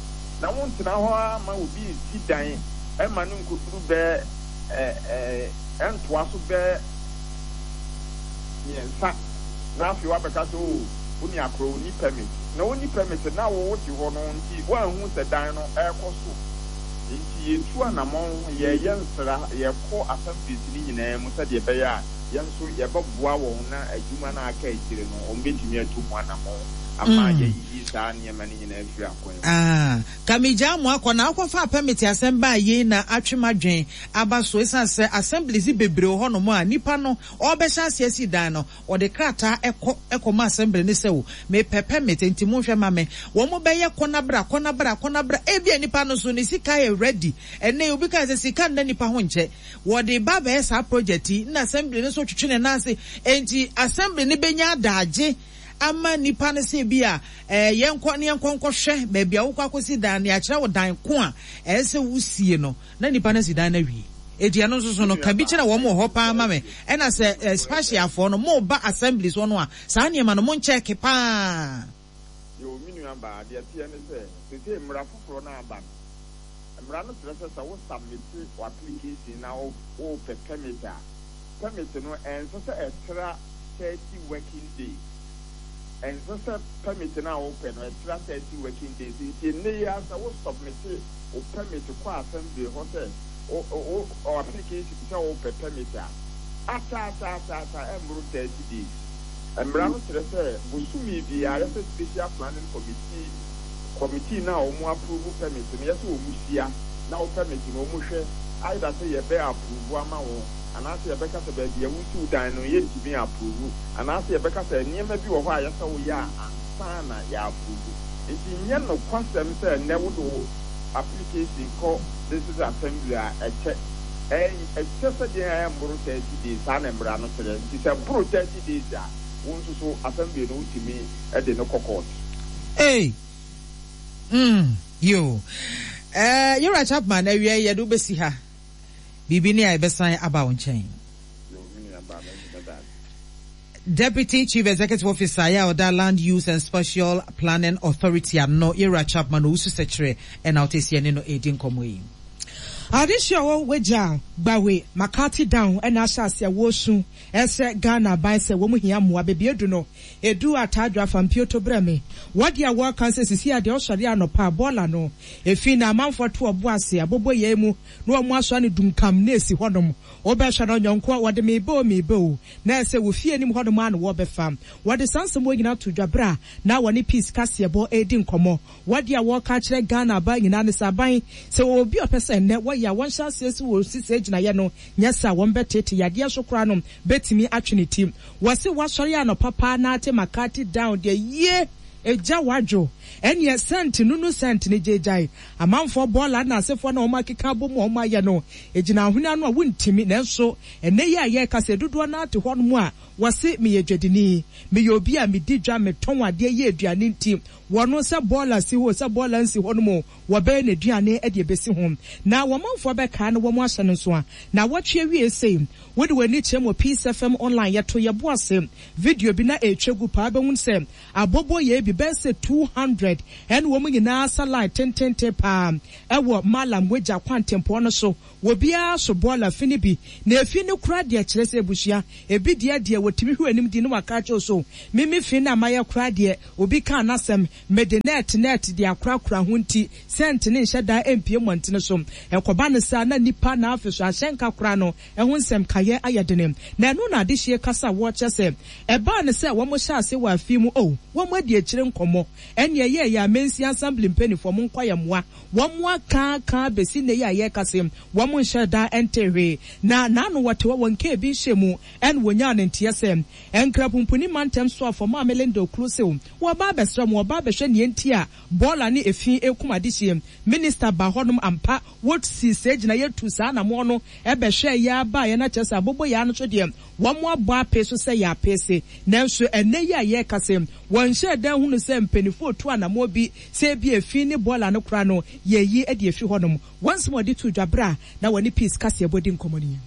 Na wontena hɔ ara mma obi nsi dan mma no nkɔduru bɛyɛ ɛntoa so bɛyɛ mmiɛnsa na afei woabɛka sɛ oh wo nua korɔ ɔnni permit. Na ɔnni permit na wo wote hɔ no nti woanhu sɛ dan no ɛrekɔ so. Nti yɛtu anamɔn, yɛreyɛ nsra, yɛkɔ assemblies no nyinaa mu sɛdeɛ ɛbɛyɛ a yɛn nso yɛbɛboa wɔn na adwuma no a aka akyire no wɔbɛtumi atu ho anammɔn ama yɛayiyi saa nneɛma no nyinaa afiri akwan mu. Ah, ka megyaa mo akɔ na wokɔfaa permit asɛm baa yei na atwe m'adwen aba so esiane sɛ assemblies bebree wɔ hɔnom a nipa no ɔrebɛhyɛ aseɛ asi dan no ɔde krataa kɔ kɔma assembly no sɛ o mepɛ permit nti monhwɛ ma me wɔn bɛyɛ kɔ na bra kɔ na bra kɔ na bra ebia nipa no nso ne sika yɛ ready ɛnnɛ yi obi kae sɛ sika nna nipa ho nkyɛ Wɔde ba abɛyɛ saa project yi na assembly no nso twetwe ne nan ase. Enti assembly no bɛnya adagye ama nnipa no sɛ bi a eh, yɛnkɔ ne yɛnkɔ nkɔhwɛ baabi a wokɔ akɔsi dan no, yɛakyerɛ wo dan ko a ɛsɛ sɛ wosie no, na nnipa no asi dan no awie. Enti ɛno nso so no, ka bi kyerɛ wɔn wɔ hɔ paa ma me. Ɛna sɛ eh, spatiafoɔ no, moba assembly soɔ no a, saa nneɛma no monkyɛke paa. Yoo, me nua baa, deɛ ɛteɛ ne sɛ, seesei mmara foforɔ no aba no, mmara no kyerɛ sɛ sɛ wo submite w'application na wo wopɛ permit a, permit no ɛnsɛ sɛ ɛtra 30 working days. Ɛnsɛ sɛ permit no a wopɛ no ɛtra 30 working days. Nti ɛnnɛ yi ara sɛ wo submite wo permit kɔ assembly hɔ sɛ wo wo application sɛ wopɛ permit a, akyɛ akyɛ akyɛ akyɛ a ɛmmoro 30 days. Mmara no kyerɛ sɛ bosome biara yɛsɛ Special Planning Committee, committee no a wɔn approve permit no, yɛsɛ wɔn hyia na wo permit no wɔn hwɛ either sɛ yɛbɛ approve ama wo anaasɛ yɛbɛka sɛ baabi a wosi wo dan no yɛntumi approve anaasɛ yɛbɛka sɛ nneɛma bi wɔ hɔ a yɛsɛ woyɛ a ansa na yɛ approve. Nti nyɛ nokwasɛm sɛ nnɛ wode wo application kɔ District Assembly a ɛkyɛ. Ɛkyɛ sɛ deɛn a ɛmmoro 30 days, saa na mmara no kyerɛ. Nti sɛ ɛboro 30 days a, wo nso so assembly no wotumi de no kɔ court. Ei! Mm, yoo. Eh, Yewura Chapman, awia yi yɛde wo bɛsi ha. Biribi ni a yɛbɛsan aba wo nkyɛn. Yoo, me nua baa, mɛgye mɛda ase. Deputy Chief Executive Officer a ɔda Land Use and Spatial Planning Authority ano, Yewura Chapman Owusu Sekyere na ɔte ase yɛne no redi nkɔmmɔ yi. Adehye a ɔwɔ Wagya Gbawe McCarthy Down na ahyɛ ase a wɔresu srɛ Ghana aban sɛ wɔn hia mmoa. Baabi adu no, edu Ataadwo afa mpioto brɛ me. Wɔ deɛ wɔreka sɛ sisi a deɛ ɔsɔre anɔpa a bɔɔla no efi na amanfoɔ to ɔbo ase abobo yɛn mu na wɔn asoa no dunkam na esi hɔnom. Wobɛhwɛ no ɔnyɔnkoɔ wɔde meba o meba o na ɛsɛ wɔ fie anim hɔnom ara na wɔrebɛfa. Wɔde saa nsɛm wɔ nyinaa too dwa berɛ a na wɔne Peace Kaseɛbɔ redi nkɔmmɔ. Wɔ deɛ wɔreka akyerɛ Ghana aban nyinaa ne sɛ aban, sɛ wɔwɔ obi a ɔpɛ sɛ ɛnnɛ wɔyɛ a wɔnhyɛ aseɛ sɛ wɔresi saa gyinaeɛ no, nyɛ saa a wɔbɛteete yadeɛ so koraa no bɛtumi atwe ne ti. Wɔse woasɔre anɔpa paa na ate McCarthy down deɛ yie egya wadwo ɛneɛ sɛnt nunu sɛnt no gyaegyae amanfoɔ bɔɔla na asefoɔ na wɔn akeka abɔ mu a wɔn ayɛ no egyina ahwene ano a wontimi nanso ɛnnɛ yi a yɛreka sɛ dodoɔ no ara te hɔnom a wɔse meyɛ dwadini meyɛ obi a medi dwa metɔn adeɛ yɛ aduane nti wɔn sɛ bɔɔla si hɔ o sɛ bɔɔla nsi hɔ nom o wɔbɛyɛ n'aduane de abɛsi ho na wɔn manfoɔ bɛkaa na wɔn ahyɛ no nso a naawɔtwe awie sei wode w'ani kyerɛ mu wɔ Peace FM online yɛto yɛbo ase video bi na ɛretwa gu paa bɛhunu sɛ aboboyɛɛ bi bɛyɛ sɛ 200. 100 ɛna wɔn nyinaa asa line tententen paa ɛwɔ Mallam Wagya kwantempɔn no so. Obiara so bɔɔla fi no bi na efi no koraa deɛ kyerɛ sɛ abusua ebi deɛ deɛ wɔtumi hwɛ anim di na waka akyerɛ wo so me me fi no a mayɛ koraa deɛ obi kaa n'asɛm mede nɛɛt nɛɛt de akorakora ho nti sɛnt no nhyɛ da mpue mmɔntene so ɛkɔba no saa na nnipa na afe so ahyɛnka koraa no ɛho nsɛm kayɛ ayɛ dene na ɛno na adehyeɛ kasa a wɔkyerɛ sɛ ɛbaa no sɛ wɔn hyɛ ase wɔ afe mu oh wɔn adi akyire nkɔmmɔ ɛne ɛyɛɛyɛ a Mansin Assembly mpaninfoɔ monkɔ yɛ mmoa Wɔn aka aka abɛsi nnɛ yi a yɛrekasa yi, wɔn nhyɛɛ da ntee hwee. Na n'ano wɔte hɔ, wɔn kaa bi nhyɛɛ mu, ɛna wɔnyaa no nteɛ sɛ, Nkrapumpuni mantam soafoɔ Maame Linda Oklusew, wɔreba abɛsrɛ mo, wɔreba abɛhwɛ nea enti a bɔɔla ne efi rekum adehyeɛ. Minista baa hɔnom ampa, wɔsii saa gyinaeɛ tuu saa anamoɔ no bɛhwɛɛ yɛ ara baeɛ na kyerɛ sɛ aboboyaa no nso deɛ, Wɔabɔ apee so sɛ yɛ apeese, nanso ɛnnɛ yi a yɛrekasa yi, wɔnhyɛɛ da nhunu sɛ mpanyimfo retu anammɔn bi sɛ ebia efi ne bɔɔla no koraa no yɛreyi de afi hɔnom. Wɔn nsɛm a wɔde too dwa bere a na wɔne Peace kaseɛbɔ di nkɔmmɔ no yi.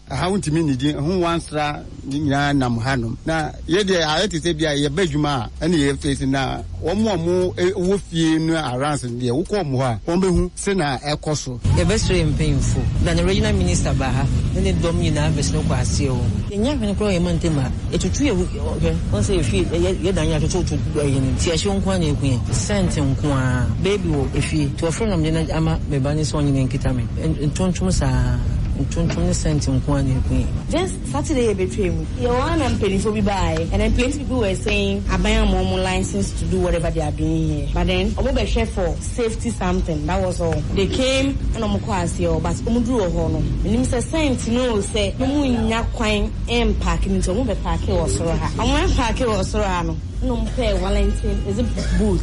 Ɛha wontumi nnidi ho nwansra ne nyinaa nam hanom na yɛ deɛ ayɛ te sɛ bia yɛba adwuma a ɛne yɛ face na wɔn a wɔn wɔ fie no around no deɛ wokɔ wɔn hɔ a wɔn bɛhu sɛ na ɛkɔ so. Yɛbɛsrɛ yɛn mpanyimfo na ne regional minister ba ha ne ne dɔm nyinaa bɛsene kɔ aseɛ hɔ. Yɛnnya hwene koraa wɔ yɛn mantam ha. Yɛtutu yɛ hwɛ wɔn sɛ yɛfie yɛ yɛ dan yɛ atototo ɛyi no nti ɛhyew nko ara na ɛku yɛn. Scent nko ara. Baby wɔ efie nti wɔfrɛ no na mede no ama me ba no sɛ ɔnye no nkita me. Ntontom saa ntontom ne scent nko ara na ɛku yɛn. Just Saturday yɛ bɛtwaa mu. Yɛwɔ ha na mpaninfoɔ bi baeɛ and then plenty people were saying aban ama wɔn license to do whatever they are doing here but then wɔn bɛhwɛ for safety something that was all. They came ɛna wɔn kɔɔ aseɛ hɔ but wɔn duru wɔ hɔ no menim sɛ scent no o sɛ wɔn nnya kwan mpaake no nti wɔn bɛ paake wɔ soro ha. Wɔn paake wɔ soro ha no ɛna wɔn pɛɛ Wellington is it boot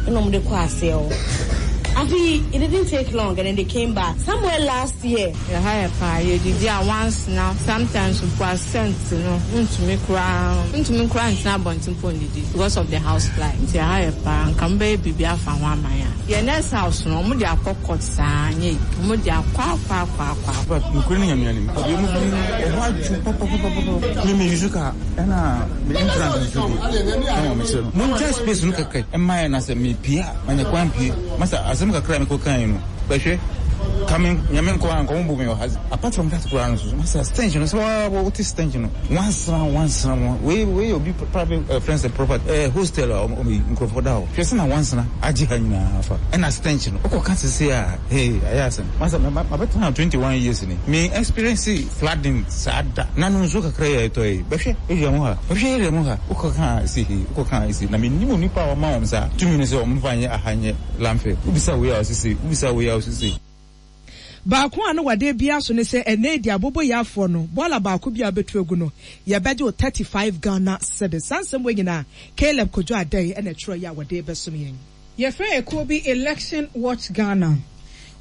ɛna wɔn de kɔɔ aseɛ hɔ. Afei it didn't take long and then they came back somewhere last year. Ɛha yɛ paa, yɛdidi a wansena, sometimes mpo a scent no wontumi koraa wontumi koraa ntena abɔnten mpo ndidi because of the house fly nti ɛha yɛ paa, nka mobɛyɛ biribi afa ho ama yɛn a. Yɛn next house no wɔn de akɔ court saa anyɛ yie, wɔn de akɔ akɔ akɔ akɔ akɔ. But nokorɛ ne Nyame anim, deɛ mu bi ɛhɔ adwo papapapapa. Me me use car ɛna me entrance nso bi ɛna me kyerɛ no. Mo gya space no kɛkɛ ɛma yɛ na sɛ me pie a manya kwan pie. Masa asɛm kakra a mekɔ kan no bɛhwɛ ka me nyame nkɔ a nkɔmɔ bɔ me wɔ ha. Apart from that koraa no so masa stench no sɛ waa wote stench no wansra wansra wɔn wei wei obi private uh, friends and property eh, hostel a ɔmo nkurɔfoɔ da hɔ hwɛ sɛ na wansra agye ha nyinaa fa ɛna stench no wokɔ ka sese a hey ayɛ asɛm masa mabɛtena 21 years ni me experience flooding saa da na no nsuo kakra yɛ ɛtɔ yi bɛhwɛ area mu ha bɛhwɛ area mu ha wokɔ ka si he wokɔ ka si na menim onipa a ɔma wɔn saa tumi no sɛ wɔn fa nyɛ aha nyɛ landfill wobisa wei a ɔsese wobisa wei a ɔsese. Baako a na wɔde abia so ne sɛ ɛnnɛ yi deɛ aboboyaafoɔ no, bɔɔla baako bi a wobɛtu agu no, yɛbɛgye wo 35 Ghana cedis. Saa nsɛm wei nyinaa, Caleb Kojo Addae na ɛtwerɛeɛ a wɔde rebɛsom yɛn. Yɛfrɛ ekuo bi Election Watch Ghana.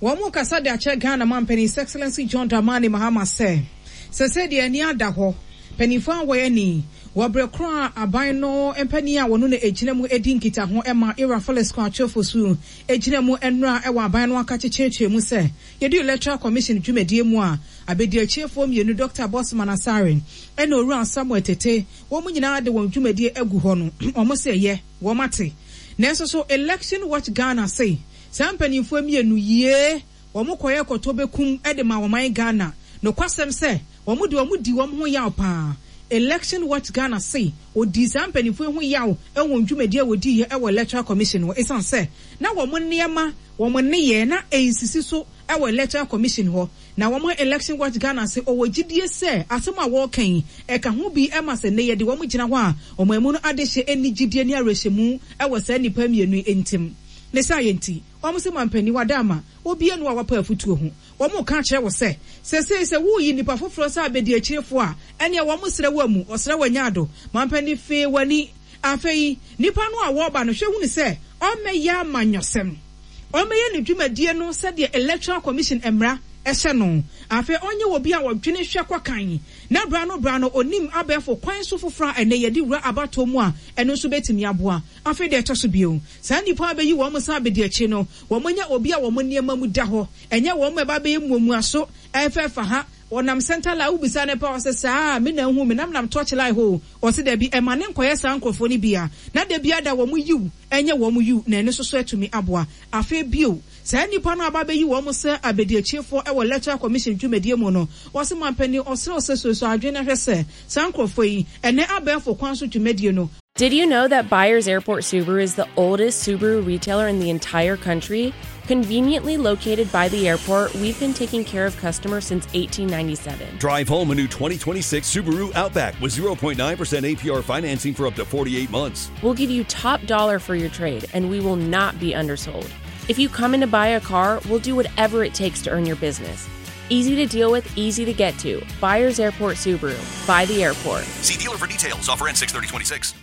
Wɔn rekasa de akyerɛ Ghana manpanin His Excellency John Dramani Mahama sɛ, sɛsɛɛ deɛ ani ada hɔ, paninfoɔ a wɔyɛ ani wɔ berɛ korɔ a aban no mpanin a wɔno na ɛgyina mu di nkitaho ma Ira Felix Kwakye Ofosu gyina mu nnora wɔ aban no akakye kyerɛkyerɛ mu sɛ yɛdu Electoral Commission dwumadie mu a abɛdiakyiefoɔ mmienu Dɔkta Bossman Asare ɛne Owura Samuel Tete wɔn nyinaa de wɔn dwumadie agu hɔ no wɔn se ɛyɛ wɔn ate nanso so Election Watch Ghana se saa mpanimfoɔ mmienu yie wɔn kɔyɛ kɔtɔ bɛkum de ma ɔman Ghana nokwasɛm sɛ Wɔn de wɔn di wɔn ho yaw paa. Election Watch Ghana se wɔdii saa mpaninfoɔ yi ho yaw wɔ wɔn dwumadie a wɔdiiɛ wɔ Electoral Commission hɔ esiane sɛ na wɔn nneɛma, wɔn nneyɛɛ na ɛnsisi so wɔ Electoral Commission hɔ. Na wɔn Election Watch Ghana se ɔwɔ gyidie sɛ asɛm a wɔreka yi ɛka ho bi ma sɛ nnɛ yɛde wɔn gyina hɔ a ɔman mu no adehye nni gyidie ne awerɛhyɛmu wɔ saa nnipa mmienu yi ntem. Ne saayɛ nti, wɔn se mampanin Wadama obiara nni hɔ a wapa afutuo ho. Wɔreka akyerɛ wo sɛ, seesei sɛ woreyi nnipa foforɔ sɛ abadiakyirefoɔ a, ɛnneɛ wɔsrɛ wo amu, wɔsrɛ wo anya ado. Mampanin, fee w'ani. Afei, nnipa no a wɔreba no, hwɛ hunu sɛ ɔmmɛyɛ amanyɔsɛm. Ɔmmɛyɛ ne dwumadie no sɛdeɛ Electoral Commission mmara hyɛ no. Afei ɔnyɛ obi a ɔdwene hwɛ kɔ kan, na berɛ ano berɛ ano ɔnim abɛɛfo kwan so foforɔ a ɛnnɛ yɛde wura abatoɔ mu a ɛno nso bɛtumi aboa. Afei deɛ ɛtɔ so bio, saa nnipa a bɛyi wɔn sɛ abadiakyire no, wɔnyɛ obi a wɔn nneɛma mu da hɔ. Ɛnyɛ wɔn a ɛba abɛyɛ muamuaso, ɛfɛfa ha, Ɔnam center line, wobisa no pɛ a ɔse saa, me na ahu me, na menam touch line hɔ o. Ɔse dabi, ɛma no nkɔyɛ saa nkorɔfoɔ no bi a, na da biara da wɔn yiw nyɛ wɔn yiw, na ɛno nso so atumi aboa. Afei bio, saa nnipa no a aba abɛyi wɔn sɛ abadiakyiefoɔ wɔ Electoral Commission dwumadie mu no, ɔse mampanin ɔsrɛ wo sɛ suasua adwene na hwɛ sɛ saa nkorɔfoɔ yi, ɛnnɛ abɛɛfo kwan so dwumadie no, Did you know that Byers Airport Subaru is the oldest Subaru retailer in the entire country? Conveniently located by the airport, we've been taking care of customers since 1897. Drive home a new 2026 Subaru Outback with 0.9% APR financing for up to 48 months. We'll give you top dollar for your trade, and we will not be undersold. If you come in to buy a car, we'll do whatever it takes to earn your business. Easy to deal with, easy to get to. Byers Airport Subaru. By the airport. See dealer for details. Offer ends 6/30/26.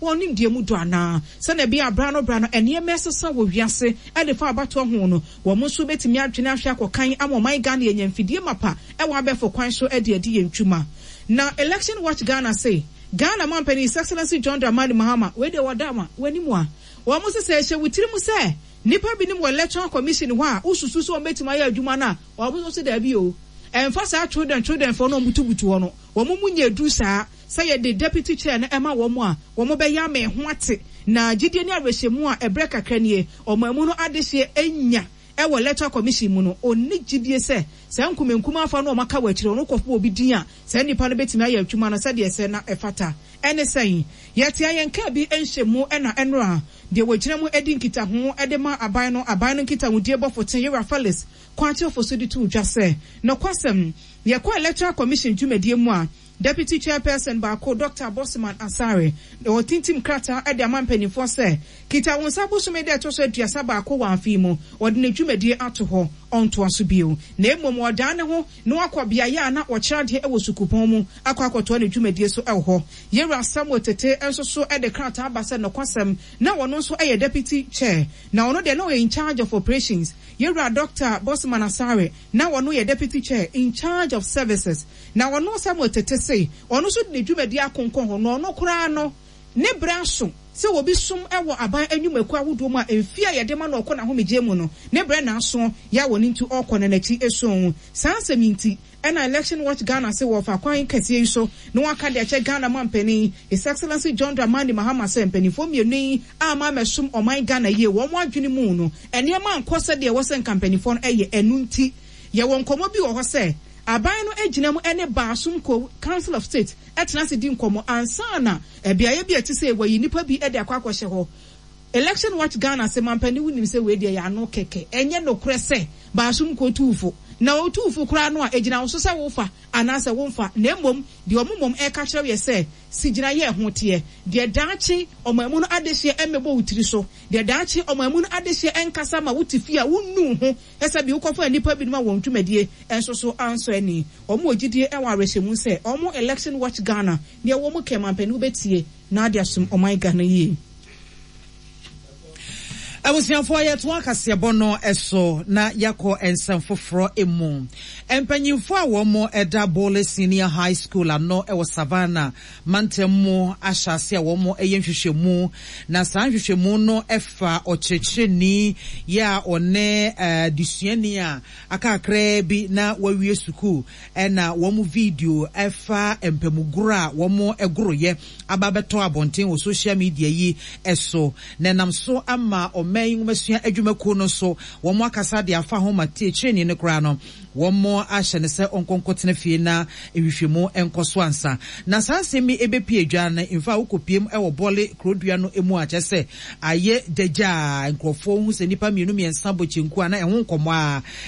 Wɔn nimdeɛ mu dɔ anaa? Sɛnea ɛbɛyɛ a bere ano bere ano nneɛma resesa wɔ wiase de fa abatoɔ ho no, wɔn nso bɛtumi adwene ahwɛ akɔ kan ama ɔman Ghana yɛanya mfidie mapa wɔ abɛɛfo kwan so de adi yɛn dwuma. Na Election Watch Ghana se, Ghana Mampanin His Excellency John Dramani Mahama, wei deɛ wɔda ama w'anim a, wɔn se sɛ ɛhyɛ wo tirim sɛ nnipa binom wɔ Electoral Commission hɔ a wosusu sɛ wɔbɛtumi ayɛ adwuma no a, wɔn nso se daabi o, ɛmfa saa children children foɔ no a wɔbutubutu hɔ no, wɔn mu nyɛ duru saa. Sɛ yɛde deputy chair no ma wɔn a, wɔbɛyɛ ama ɛho ate. Na gyidie ne awerɛhyɛmu a ɛberɛ kakra nie ɔman mu no adehyeɛ anya wɔ Electoral Commission mu no, ɔnni gyidie sɛ saa nkumankumaa fa no a wɔaka wɔ akyire no, wokɔbɔ obi din a, saa nipa no bɛtumi ayɛ adwuma no sɛdeɛ ɛsɛ na ɛfata. Ɛne sɛn? Yɛtea yɛn kaa bi nhyɛmu na ɛnora deɛ wɔgyina mu di nkitaho de ma aban no, aban no nkitahodie bɔfo te Yera Felix Kwakye Ofosu de too dwa sɛ, Nokwasɛm, yɛkɔ Electoral Commission dwumadie mu a, Deputy Chairperson baako, Dɔkta Bossman Asare, na ɔretintim krataa de ama mpanimfoɔ sɛ, Kita wo nsa bosome da ɛtɔ so 31 wɔ afe yi mu, ɔde ne dwumadie ato hɔ, ɔntoa so bio, na mmom ɔdan ne ho na wakɔ beaeɛ a na ɔkyerɛ adeɛ wɔ sukuupɔn mu akɔ akɔtoa ne dwumadie so wɔ hɔ. Yɛwura Samuel Tete nso so de krataa ba sɛ nokwasɛm na ɔno nso yɛ Deputy Chair, na ɔno deɛ na ɔyɛ in charge of operations. Yɛwura Dɔkta Bossman Asare, na ɔno yɛ Deputy Chair in charge of services. Na ɔno Samuel Tete se ɔno nso de ne dwumadi akonkɔn hɔ, na ɔno koraa no, ne bere aso sɛ obi som wɔ aban nnwumakuo ahodoɔ mu a mfeɛ a yɛde ma no ɔkɔ n'ahomegyeɛ mu no, ne berɛ na aso yɛ a wɔn nti ɔrekɔ na n'akyi so. Saa asɛm yi nti na Election Watch Ghana se wɔrefa kwan kɛseɛ yi so na wɔaka de akyɛ Ghana mampanin His Excellency John Dramani Mahama sɛ mpanimfoɔ mmienu yi amma ammɛsom ɔman Ghana yie, wɔn adwene mu no nneɛma ankɔ sɛdeɛ ɛwɔ sɛ nka mpanimfoɔ no yɛ, ɛno nti yɛwɔ nkɔmmɔ bi wɔ hɔ sɛ Aban no gyina mu ne Baasom Kuo, Council of State, tena ase di nkɔmmɔ ansa na beaeɛ bi a ɛte sei wɔayi nnipa bi de akɔ akɔhyɛ hɔ. Election Watch Ghana se, Mampanin wonim sɛ wei deɛ ɛyɛ ano kɛkɛ, ɛnyɛ nokorɛ sɛ Baasom Kuo tu wo fo. Na wɔtu wo fo koraa no a, ɛgyina wo so sɛ wofa anaasɛ womfa. Na mmom deɛ wɔn mmom reka kyerɛ wo yɛ sɛ, si gyinaeɛ a ɛho teɛ, deɛ daakye ɔman mu no adehyeɛ mmɛbɔ wo tiri so, deɛ daakye ɔman mu no adehyeɛ nkasa ma wote fie a wonnu wo ho Sɛ bi wokɔfaa nnipa binom a wɔn dwumadie nso so ansɔ ani. Wɔn wɔ gyidie wɔ awerɛhyɛmu sɛ wɔn Election Watch Ghana deɛ wɔn kɛ mampanin wobɛtie na ade asom ɔman Ghana yie. Abusuafoɔ yɛtoa kaseɛbɔ no so na yɛakɔ nsɛm foforɔ mu. Mpanyinfoɔ a wɔn da Bole Senior High School ano wɔ Savannah mantam mu ahyɛ ase a wɔyɛ nhwehwɛmu, na saa nhwehwɛmu no fa ɔkyerɛkyerɛni yɛ a ɔne adesuani a aka kakraa bi na wawie sukuu na wɔn video fa mpamugoro a wɔgoroyɛ aba abɛtɔ abɔnten wɔ social media yi so, na ɛnam so ama ɔman yi nwomasua adwumakuo no nso wɔn akasa de afa ho ma kyerɛkyerɛni no koraa no Wɔahyɛ no sɛ ɔnkɔ nkɔtena fie na nhwehwɛmu nkɔ so ansa na saa nsɛm yi bɛpue dwa no. Mfa a wokɔpiem wɔ Bɔle kurodua no mu a, kyerɛ sɛ ayɛ gyagyaa. Nkurɔfoɔ hu sɛ nnipa mmienu mmiɛnsa bɔ kyenku a, na ɛho nkɔmmɔ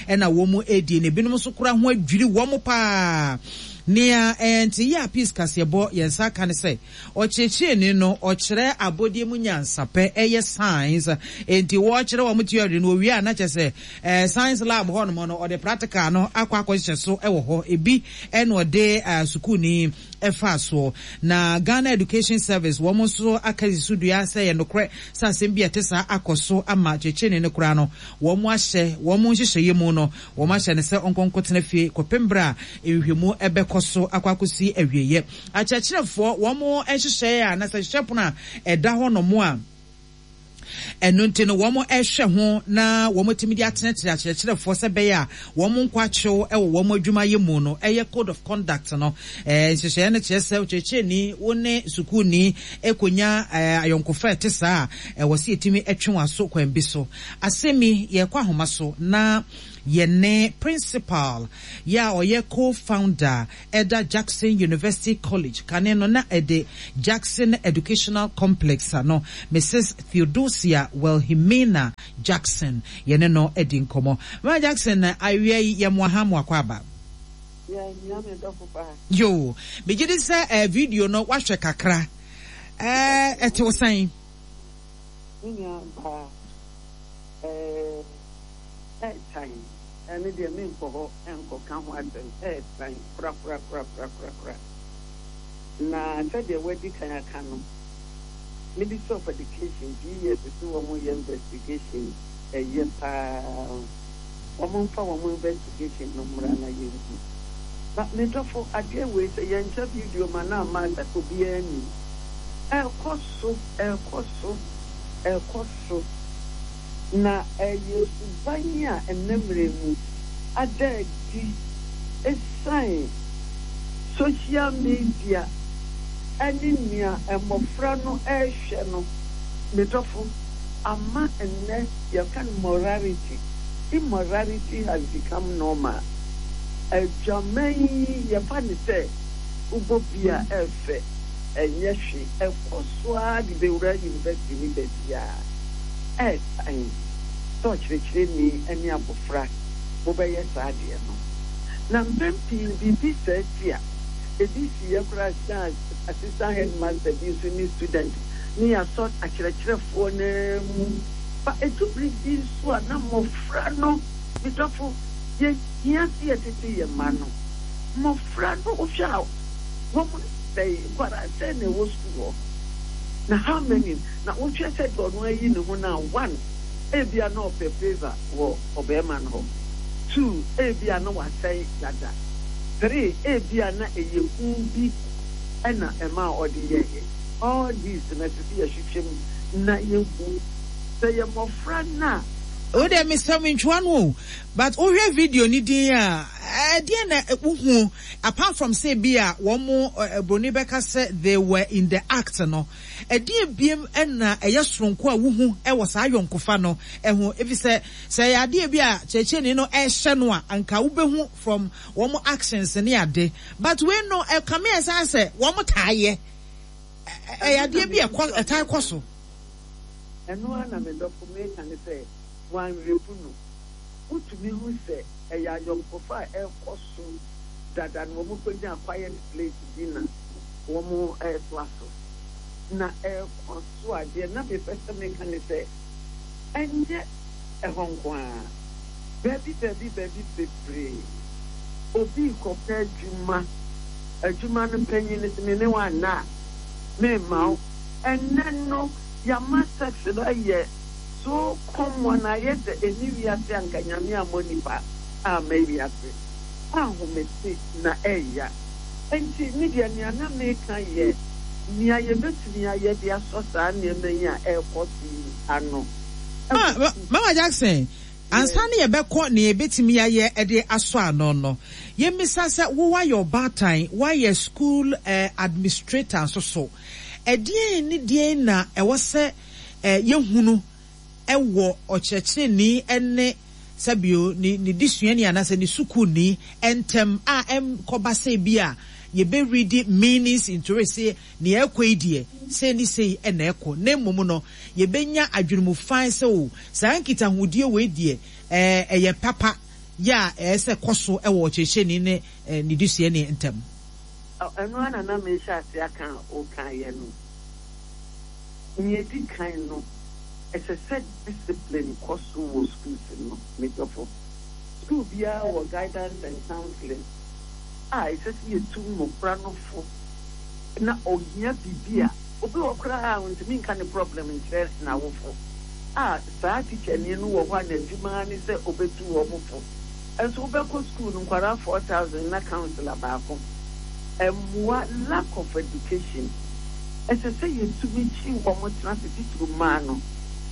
ara na wɔredi, na ebinom nso koraa ho adwiri wɔn pa ara. Nea ɛnte yɛ a Peace Kaseɛbɔ yɛn nsa aka ne sɛ, Ɔkyerɛkyerɛni no, ɔkyerɛ abɔdeɛ mu nyansapɛ, ɛyɛ science, enti wɔkyerɛ wɔn theory no, wɔwie a na kyerɛ sɛ science lab hɔ nom no, ɔde practical no akɔ akɔhyehyɛ so wɔ hɔ, ebi na ɔde sukuuni faa soɔ. Na Ghana Education Service, wɔn nso aka asi so dua sɛ ɛyɛ nokorɛ sɛ asɛm bi a ɛte saa akɔ so ama kyerɛkyerɛni no koraa no, wɔn ahyɛ wɔn nhyehyɛeɛ mu no, wɔahyɛ no sɛ ɔnkɔ nkɔtena fie kɔpem berɛ a nhwehwɛmu bɛkɔ so akɔ akɔsi awieɛ. Akyerɛkyerɛfoɔ, wɔn nhyehyɛeɛ a, anasɛ nhyehyɛ pono a ɛda hɔ nom a, Ɛno nti no wɔrehwɛ ho na wɔatumi de atenetene akyerɛkyerɛfoɔ sɛ ɛbɛyɛ a wɔn nkɔ akyew wɔ wɔn adwumayɛ mu no yɛ Code of Conduct no. Nhyehyɛeɛ no kyerɛ sɛ ɔkyerɛkyerɛni, wo ne sukuuni kɔnya ayɔnkofa a ɛte saa a, ɛwɔ sɛ yɛtumi twe wɔn aso kwan bi so. Asɛm yi, yɛrekɔ ahoma so na yɛne Principal yɛ a ɔyɛ co-founder ɛda Jackson University College, kane no na ɛde Jackson Educational Complex ano, Misus Theodosia Wilhelmina Jackson, yɛne no adi nkɔmmɔ. Mama Jackson, awia yi yɛ mo aha mo akwaaba. Yeah, nua me dɔfo paa. Yoo, megye di sɛ eh, video no woahwɛ kakra. Eh, ɛte wo sɛn? Me nua baa, eh, ɛɛtan, ɛno deɛ menkɔ hɔ nkɔka ho asɛm, ɛɛtan korakorakorakorakorakora. Na sɛdeɛ woadi kan aka no, Ministry of Education, GES se wɔn yɛ investigation, ɛyɛ paa. Wɔn mfa wɔn investigation no mmra na yɛnhu. Na me dɔfo, adeɛ wei sɛ yɛntwa video ma no amma a, sɛ obiara nnim. Ɛrekɔ so, ɛrekɔ so, ɛrekɔ so. Na ɛyɛ suban a ɛnnɛ mmerɛ mu ada adi ɛsiane social media ne nea mmɔfra no rehwɛ no, me dɔfo, ama nnɛ yɛka no morality, immorality has become normal. Adwaman yi yɛfa no sɛ wobɔ bi a ɛfɛ, ɛnyɛ hwee, ɛkɔ so ara de bɛwura university ne baabiara. Ɛretan sɛ ɔkyerɛkyerɛni ne abofra mobɛyɛ saa adeɛ no. Na mpɛn pii biribi saa si a, ebi siiɛ koraa sɛ assistant headmaster bi nso ne student ne yɛasɔ akyerɛkyerɛfoɔ no ara mu. Ba ɛdu bere bi nso a na mmɔfra no, me dɔfo, yɛhia sɛ yɛtete yɛn mma no. Mmɔfra no wohwɛ a wɔn sɛe, nkwadaa sɛn na ɛwɔ sukuu hɔ? Na how many? Na wohwɛ sɛdeɛ ɔno ayi ne ho no a, one, ebia na ɔpɛ favour wɔ ɔbarima no hɔ, two, ebia na wasɛe dada, three, ebia na ɛyɛ hu bi na ɛmaa ɔde yɛeɛ. All these no, ɛsɛ sɛ yɛhwehwɛ mu na yɛhu. Sɛ ɛyɛ mmɔfra no a. Wo deɛ mesrɛ wo mentwa no o but wohwɛ video no din a ɛdeɛn na wohu apart from sɛ bi a wɔn broni bɛka sɛ they were in the act no Ɛdeɛn biom na ɛyɛ soronko a wohu wɔ saa ayɔnkofa no ho? Efisɛ sɛ ɛyɛ adeɛ bi a kyerɛkyerɛni no rehyɛ no a, anka wobɛhu from wɔn actions ne ade. But wei no, ɛkame ayɛ sɛ asɛ wɔn taa yɛ. Ɛyɛ adeɛ bi a ɛkɔ, ɛtaa kɔ so. Ɛno ara na me dɔfo meka ne sɛ, wɔanrepu no. Wotumi hu sɛ ɛyɛ ayɔnkofa a ɛrekɔ so dada na wɔkɔnyaa quiet place bi na wɔretoa so. Na ɛrekɔ so a, deɛ na mepɛ sɛ meka ne sɛ, ɛnyɛ ɛhɔ nko ara. Baabi baabi baabi bebree, obi rekɔpɛ adwuma, adwuma no panyin no se, me ne wo anna a, meremma wo. Ɛnnɛ no, yɛama sex no ayɛ so common, ayɛ sɛ ɛnni wiase a anka Nyame ammɔ nnipa amma wiase. Ahomete na ɛya. Enti me deɛ nea na meka yɛ nea yɛbɛtumi ayɛ de asɔ saa nneɛma yi a ɛrekɔ so yi ano. Ma, Mama Jackson, ansa na yɛbɛkɔ nea yɛbɛtumi ayɛ de asɔ ano no, yɛmmisa sɛ, wo woayɛ ɔbaatan, woayɛ school administrator nso so, ɛdeɛn ne deɛn na ɛwɔ sɛ yɛhunu wɔ ɔkyerɛkyerɛni ne sɛbio ne ne desuani anaasɛ ne sukuuni ntam a ɛnkɔba sɛ bi a yɛbɛ read meanings into it sɛ nea ɛrekɔ yi deɛ sei ne sei na ɛkɔ na mmom no yɛbɛnya adwenemu fann sɛ o saa nkitahodie wei deɛ ɛyɛ papa yɛ a ɛyɛ sɛ kɔ so wɔ ɔkyerɛkyerɛni ne ne desuani ntam. Ɛno ara na na merehyɛ ase aka a wokaeɛ no. Nea edi kan no, ɛsɛ sɛ discipline kɔ so wɔ schools no, me dɔfo. School biara wɔ guidance and counseling a ɛsɛ sɛ yɛtu mmofra no fo na ohia biribi a, obi wɔ hɔ koraa a ontumi nka ne problem nkyerɛ n'awofo a saa tikyani no wɔ hɔ a n'adwuma ara ne sɛ obetu wɔn fo. Nso wobɛkɔ school no nkwadaa 4000 na counselor baako. Ɛmmoa, lack of education. Ɛsɛ sɛ yɛtumi kye wɔn tena ase, titiriw mmaa no.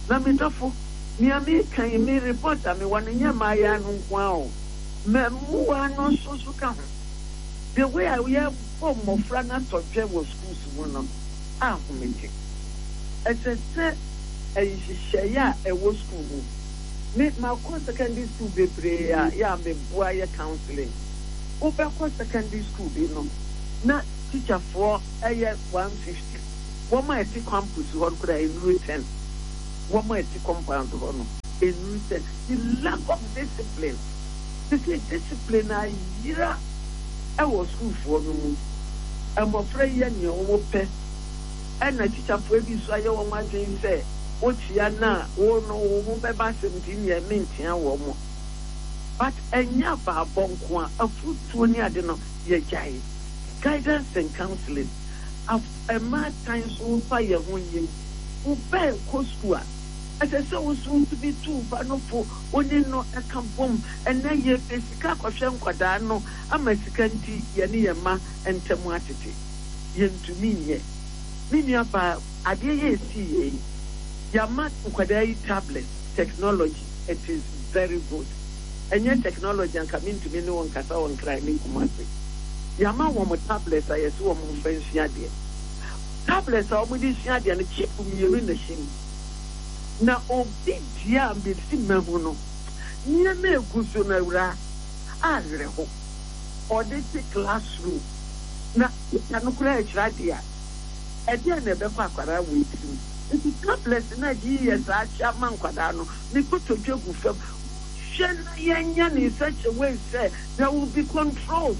Na me dɔfo, nea mereka yi, me report a mewɔ no nyɛ mmaayaa no nko ara o, mmamuwa no nso so ka ho. The way a yɛbɔ mmɔfra no atɔdwɛ wɔ schools mu no, ahomete. Ɛsɛ sɛ nhyehyɛe a ɛwɔ school mu. Me, makɔ secondary school bebree a yɛ a meboa yɛ counselling. Wobɛkɔ secondary school bi no, na teacherfoɔ yɛ 150. Wɔn a ɛte campus hɔ no koraa ɛnnuru ten. Wɔn a ɛte compound hɔ no, ɛnnuru ten. The lack of discipline. Seesei discipline ayera wɔ sukuufoɔ no mu. Mmɔfra yi yɛ nea wɔpɛ. Ɛna tikyafoɔ bi nso ayɛ wɔn adwene sɛ wokyea no a, wo no wo ho bɛba asɛm nti nneɛ menkyea wɔn. But ɛnyɛ abaabɔ nko ara, afutuo ne ade no yɛgyae. Guidance and counseling. Af mmaatan nso mfa yɛn ho nyim. Wo ba rekɔ sukuu a, ɛsɛ sɛ wo nso wotumi tu wo ba no fo, wo ne no ka bom. Ɛnnɛ yɛpɛ sika akɔhwɛ nkwadaa no ama sika nti yɛne yɛn mma ntam atete. Yɛntumi nyɛ. Me nuabaa, adeɛ yi a ɛsii yɛn yi, yɛama nkwadaa yi tablet, technology, it is very good. Ɛnyɛ technology anka mentumi ne wo nkasa wɔ Nkran ne Kumasi. Yɛama wɔn tablets a yɛse wɔn mfa nsua adeɛ. Tablets a wɔde sua adeɛ no, chip mmienu na ɛhyɛ mu. Na obi deɛ a mesi mahu no, nneɛma a ɛgu so no awuraa, awerɛho. Ɔde te classroom na teacher no koraa rekyerɛ adeɛ a, ɛdeɛn na ɛbɛkɔ akwadaa wei tirim? Nti tablets no a GES akyɛ ama nkwadaa no, me kotodwe gu fam. Monhwɛ na yɛnyɛ no in such a way sɛ there will be controls.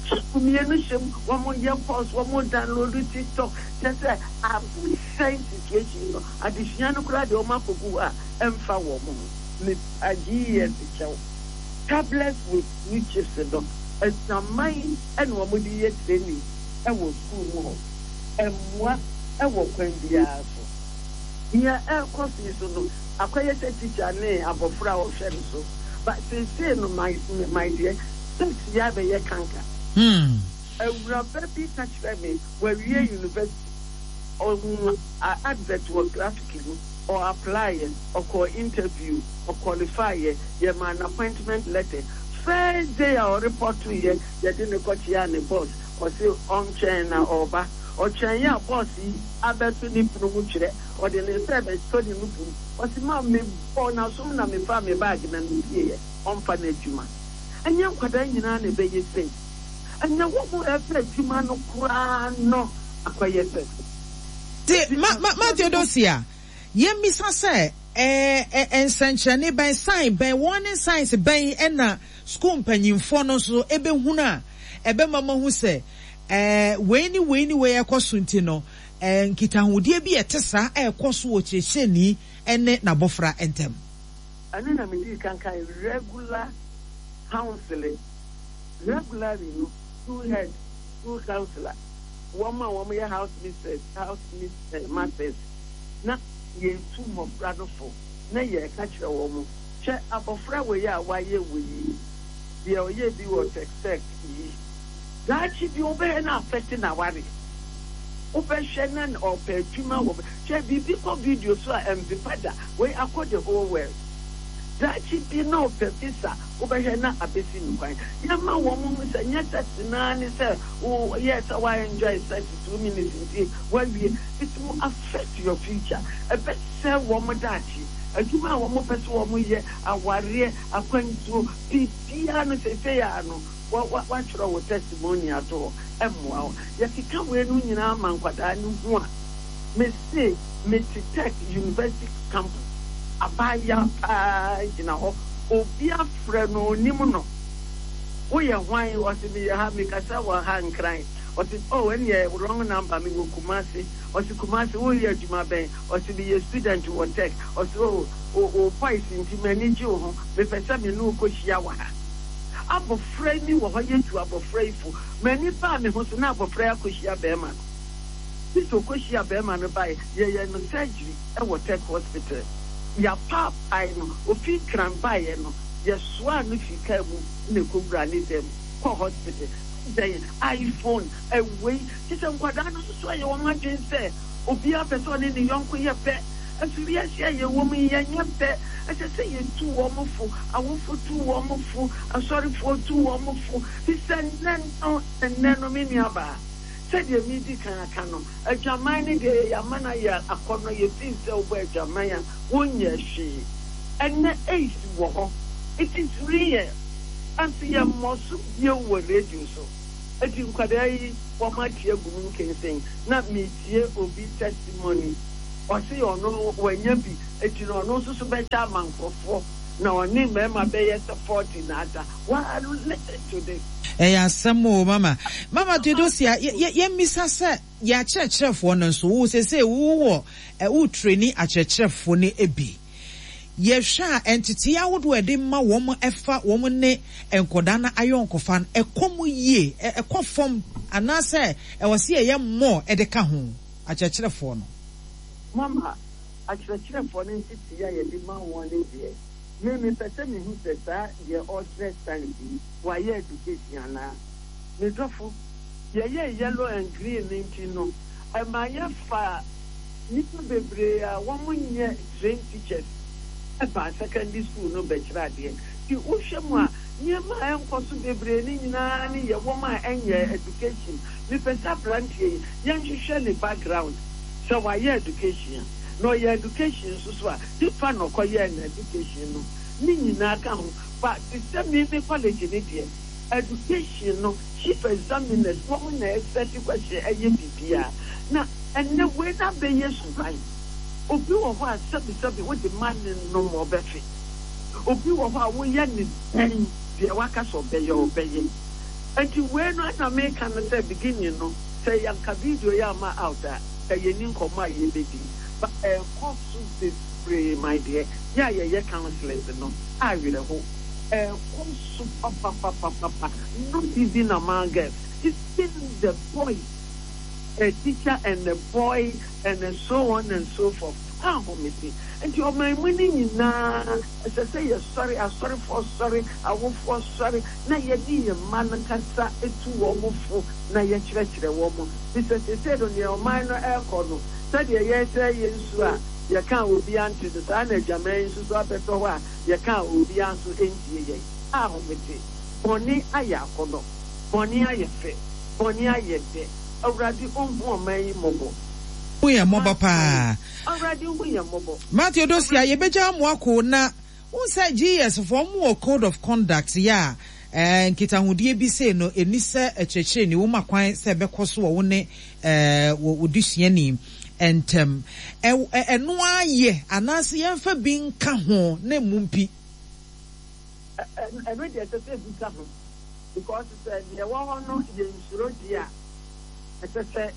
Chip mmienu hyɛ mu, wɔyɛ calls, wɔn download TikTok, kyerɛ sɛ abɛsɛe situation no. Adesua no koraa deɛ wɔn akɔgu hɔ a ɛmfa wɔn ho. Mepa GES kyɛw. Tablets with new chips no, asuaman na wɔde yɛ training wɔ sukuu mu hɔ. Ɛmmoa wɔ kwan biara so. Nea ɛrekɔ so yi so no, akɔyɛ sɛ tikya ne abɔfra a ɔhwɛ no so. But seesei no, my my deɛ, sex yi abɛyɛ kanka. Awuraba bi ka kyerɛɛ me, wawie university, ɔhuu advert wɔ graphic mu, ɔ apply-ɛ, ɔkɔɔ interview, ɔ qualify-ɛ, yɛmaa no appointment letter. First day a ɔrepɔtoeɛ, yɛde no kɔkyeaa ne boss, ɔse ɔntwɛn na ɔreba. Ɔtwɛneeɛ a boss yi abɛto ne pono mu twerɛ, ɔde ne nsa rebɛsɔ ne nufu mu, ɔse ma mebɔɔ n'asom na mefaa me bag na mepieeɛ, ɔmfa no adwuma. Ɛnyɛ nkwadaa nyinaa na ɛbɛyɛ sei. Ɛnyɛ wɔn a ɛpɛ adwuma no koraa no akɔyɛ sɛ. Nti ma ma ma Theodosia, yɛmmisa sɛ, ɛɛ ɛ nsɛnkyerɛnne bɛn, sign bɛn, warning signs bɛn na sukuu mpanyimfoɔ no nso bɛhunu a ɛbɛma moahu sɛ ɛɛ wei ne wei ne wei rekɔ so nti no, ɛɛ nkitahodie bi a ɛte saa rekɔ so wɔ kyerɛkyerɛni ne n'abɔfra ntam? Ɛno na medii kan kae, regular counseling. Regularly no, school head, school counsellor, wɔn a wɔyɛ house mistress, house masters, na yɛtu mmɔfra no fo na yɛka kyerɛ wɔn, hwɛ abɔfra wei a wayɛ wei yi, deɛ ɔyɛɛ bi wɔ tɛk-tɛk yi, daakye bi wobɛhwɛ na affect n'awareɛ. Wobɛhwɛ na ɔpɛ adwuma wɔ, hwɛ biribi kɔ video so a ɛmpepa da, wei akɔ the whole world. Daakye bi na ɔpɛ visa, wobɛhwɛ na abɛsi no kwan. Yɛma wɔn hu sɛ nyɛ sex no ara ne sɛ wo yɛɛ sɛ wa enjoy sex 2 minutes nti woawie. It will affect your future. Ɛbɛsɛe wɔn daakye. Adwuma a wɔn pɛ sɛ wɔn yɛ, awareɛ, akwantuo, biribiara no seesei ara no wa wa woatwerɛ wo testimony ato hɔ, ɛmmoa wo. Yɛkeka weinom nyinaa ma nkwadaa no hu a, mese mete Tech University campus, abaayewa paa gyina hɔ, obi afrɛ no onim no. Woyɛ hwan? Ɔse meyɛ ha, mekasa wɔ ha Nkran. Ɔse oh ɛneɛ wrong number, mewɔ Kumasi. Ɔse Kumasi, woyɛ adwuma bɛn? Ɔse meyɛ student wɔ Tech. Ɔse oh wo wo voice nti m'ani gye wo ho, mepɛ sɛ me ne wo kɔhyia wɔ ha. Abɔfra yi wɔ hɔ yɛtu abɔfra yi fo. M'ani baa me ho so na abɔfra yi akɔhyia bɛɛma no. Sisi ɔkɔhyia bɛɛma no bae, yɛyɛɛ no surgery wɔ Tech hospital. Yɛapaapae no, ofi Nkran baeɛ no, yɛsoaa no fii kaa mu na ɛkɔwuraa ne dan mu kɔɔ hospital. Adɛn, iPhone, wei, kyerɛ sɛ nkwadaa no nso ayɛ wɔn adwene sɛ obiara pɛ sɛ ɔne ne yɔnko yɛ pɛ. Nso wiase a yɛwɔ mu yi, yɛnyɛ pɛ. Ɛsɛ sɛ yɛtu wɔn fo, awofo tu wɔn fo, asɔrefoɔ tu wɔn fo. Fi sɛ nnɛ no, ɛnnɛ no, me nuabaa, sɛdeɛ meredi kan aka no, adwaman no deɛ yɛama no ayɛ akɔnnɔ, yɛfii sɛ wobɔ adwaman a, wonyɛɛ hwee. Ɛnnɛ AIDS wɔ hɔ, it is real, nanso yɛmmɔ so bio wɔ radio so. Enti nkwadaa yi wɔate agu mu nkensen. Na metie obi testimony, ɔse ɔno no wanya bi, enti no ɔno nso so bɛkyɛ ama nkorɔfoɔ, na ɔne mmarima bɛyɛ sɛ 40 na ada. Waa listen to this. Ɛyɛ asɛm oo mama. Mama Theodosia, yɛmmisa sɛ yɛn akyerɛkyerɛfoɔ no nso, wo seesei wowɔ, wo traini akyerɛkyerɛfoɔ no bi. Yɛhwɛ a, ntetee ahodoɔ a yɛde ma wɔn ɛfa wɔn ne nkwadaa no ayɔnkofa no, ɛkɔ mu yie, ɛkɔ fam anaasɛ ɛwɔ sɛ yɛyɛ more de ka ho, akyerɛkyerɛfoɔ no? Mama, akyerɛkyerɛfoɔ no ntetee a yɛde ma wɔn no deɛ, me mepɛ sɛ mehu sɛ saa deɛ ɔrekyerɛ science yi, wayɛ education anaa? Me dɔfo, yɛyɛɛ yellow and green no nti no, ɛma yɛfaa nnipa bebree a wɔnyɛ trained teachers baa secondary school no bɛkyerɛ adeɛ. Nti wohwɛ mu a, nneɛma a ɛnkɔ so bebree no nyinaa ne yɛ wɔn a ɛnyɛ education. Mepɛ sɛ aberanteɛ yi, yɛnhwehwɛ ne background, sɛ wayɛ education a, na ɔyɛ education nso so a, hefa na ɔkɔyɛɛ n'education no? Ne nyinaa ka ho. But te sɛ me me college no deɛ, Education no chief examiners wɔn na ɛsɛte question ɛyɛ biribiara na ɛnɛ wei no abɛyɛ suban. Obi wɔ hɔ a sɛbi sɛbi wode ma no nom ɔbɛfe. Obi wɔ hɔ a woyɛ no dɛn deɛ waka sɛ ɔbɛyɛ ɔbɛyɛ. Nti wei no ɛna meka no sɛ beginning no sɛ yɛnka video yi amma out a ka yɛnni nkɔmmɔ a yɛbɛdi but ɛrekɔ so bebree my deɛ yɛ a yɛyɛ counsellors no awerɛho. Ɛkɔ so papapapapa not even among girls even the boys a teacher and a boy and a so on and so forth ahomete nti ɔman mu no nyinaa ɛsɛ sɛ yɛsɔre asɔrefoɔ sɔre awofoɔ sɔre na yɛne yɛn mma no kasa tu wɔn fo na yɛkyerɛkyerɛ wɔn fisɛ seesei no nea ɔman no ɛrekɔ no sɛdeɛ yɛresɛe yɛn nsuo a yɛka a obiara nte no saa na adwaman yi nso so abɛtɔ hɔ a Yɛka a obiara nso ntie yɛn. Ahomete. Bɔne ayɛ akɔnnɔ. Bɔne ayɛ fɛ. Bɔne ayɛ dɛ. Awurade ɔnhu ɔman yi mmɔbɔ. Hu yɛn mmɔbɔ paa. Awurade hu yɛn mmɔbɔ. Matthew Dosia, yɛbɛgya mo ako na wohu sɛ GES foɔ ɔmo wɔ code of conduct yɛ a eh, nkitahodie bi sei no ɛni sɛ kyerɛkyerɛni woma kwan sɛ ɛbɛkɔ so wɔ wo ne eh, wɔ wo desuani ntɛm. Ɛno ara yɛ anaasɛ yɛmfa bi nka ho na mmu mpi? Ɛno deɛ ɛsɛ sɛ bi ka ho because sɛ deɛ ɛwɔ hɔ no yɛnsuro deɛ a, ɛsɛ sɛ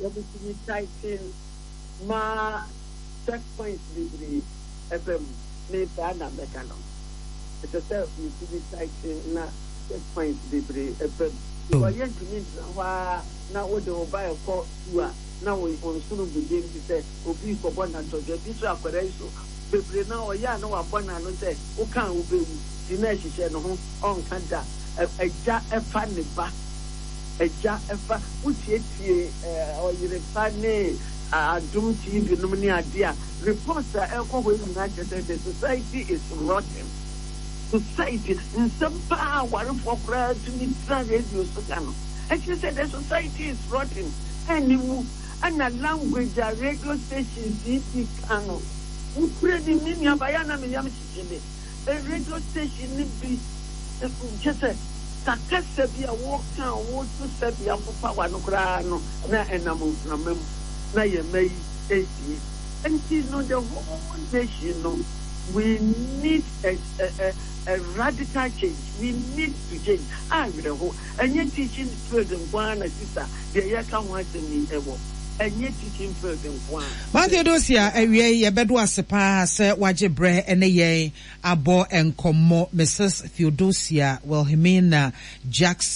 wɔtumi tighten ma check points bebree ɛba mu. Me saa na mɛka no. Ɛsɛ sɛ yɛtumi tighten na check points bebree ɛba mu because yɛntumi ntena hɔ ara na wode wo ba rekɔ sukuu a na wo nsono gu dam te sɛ obi rekɔbɔ no atɔdwe. Ebi nso akwadaa yi so bebree no ara ɔyɛ a na wabɔ n'ano sɛ woka a wobɛwu nti na ɛhyehyɛ ne ho ɔnka da. Agya fa ne ba, agya fa, wotietie ɔyere pa ne Adom TV nom ne adeɛ a, reports a ɛrekɔ hɔ yi nyinaa kyerɛ sɛ the society is rotten. Society, nsɛm paa a awarefoɔ koraa tumi tena radio so ka no, ɛkyerɛ sɛ the society is rotten, aniwu, ɛna language a radio stations yi bi ka no, nokorɛ nim, me nuabaa, ɛyɛ a na me yam hyehye me, radio station no bi, kyerɛ sɛ, ka kasa bi a woka a woto sɛbe apopa w'ano koraa no, na ɛnam mframa mu, na yɛn mma yi retie. Nti no, the whole nation no, we need a a a radical change, we need to change. Awerɛho, ɛnyɛ teaching field nko ara na sister deɛ yɛreka ho asɛm yi ɛwɔ, ɛnyɛ teaching field nko ara. Matthew Dosia, awia yi yɛbɛdo ase paa sɛ wagye berɛ ne yɛn abɔ nkɔmmɔ. Mrs. Theodosia Wilhelmina Jackson.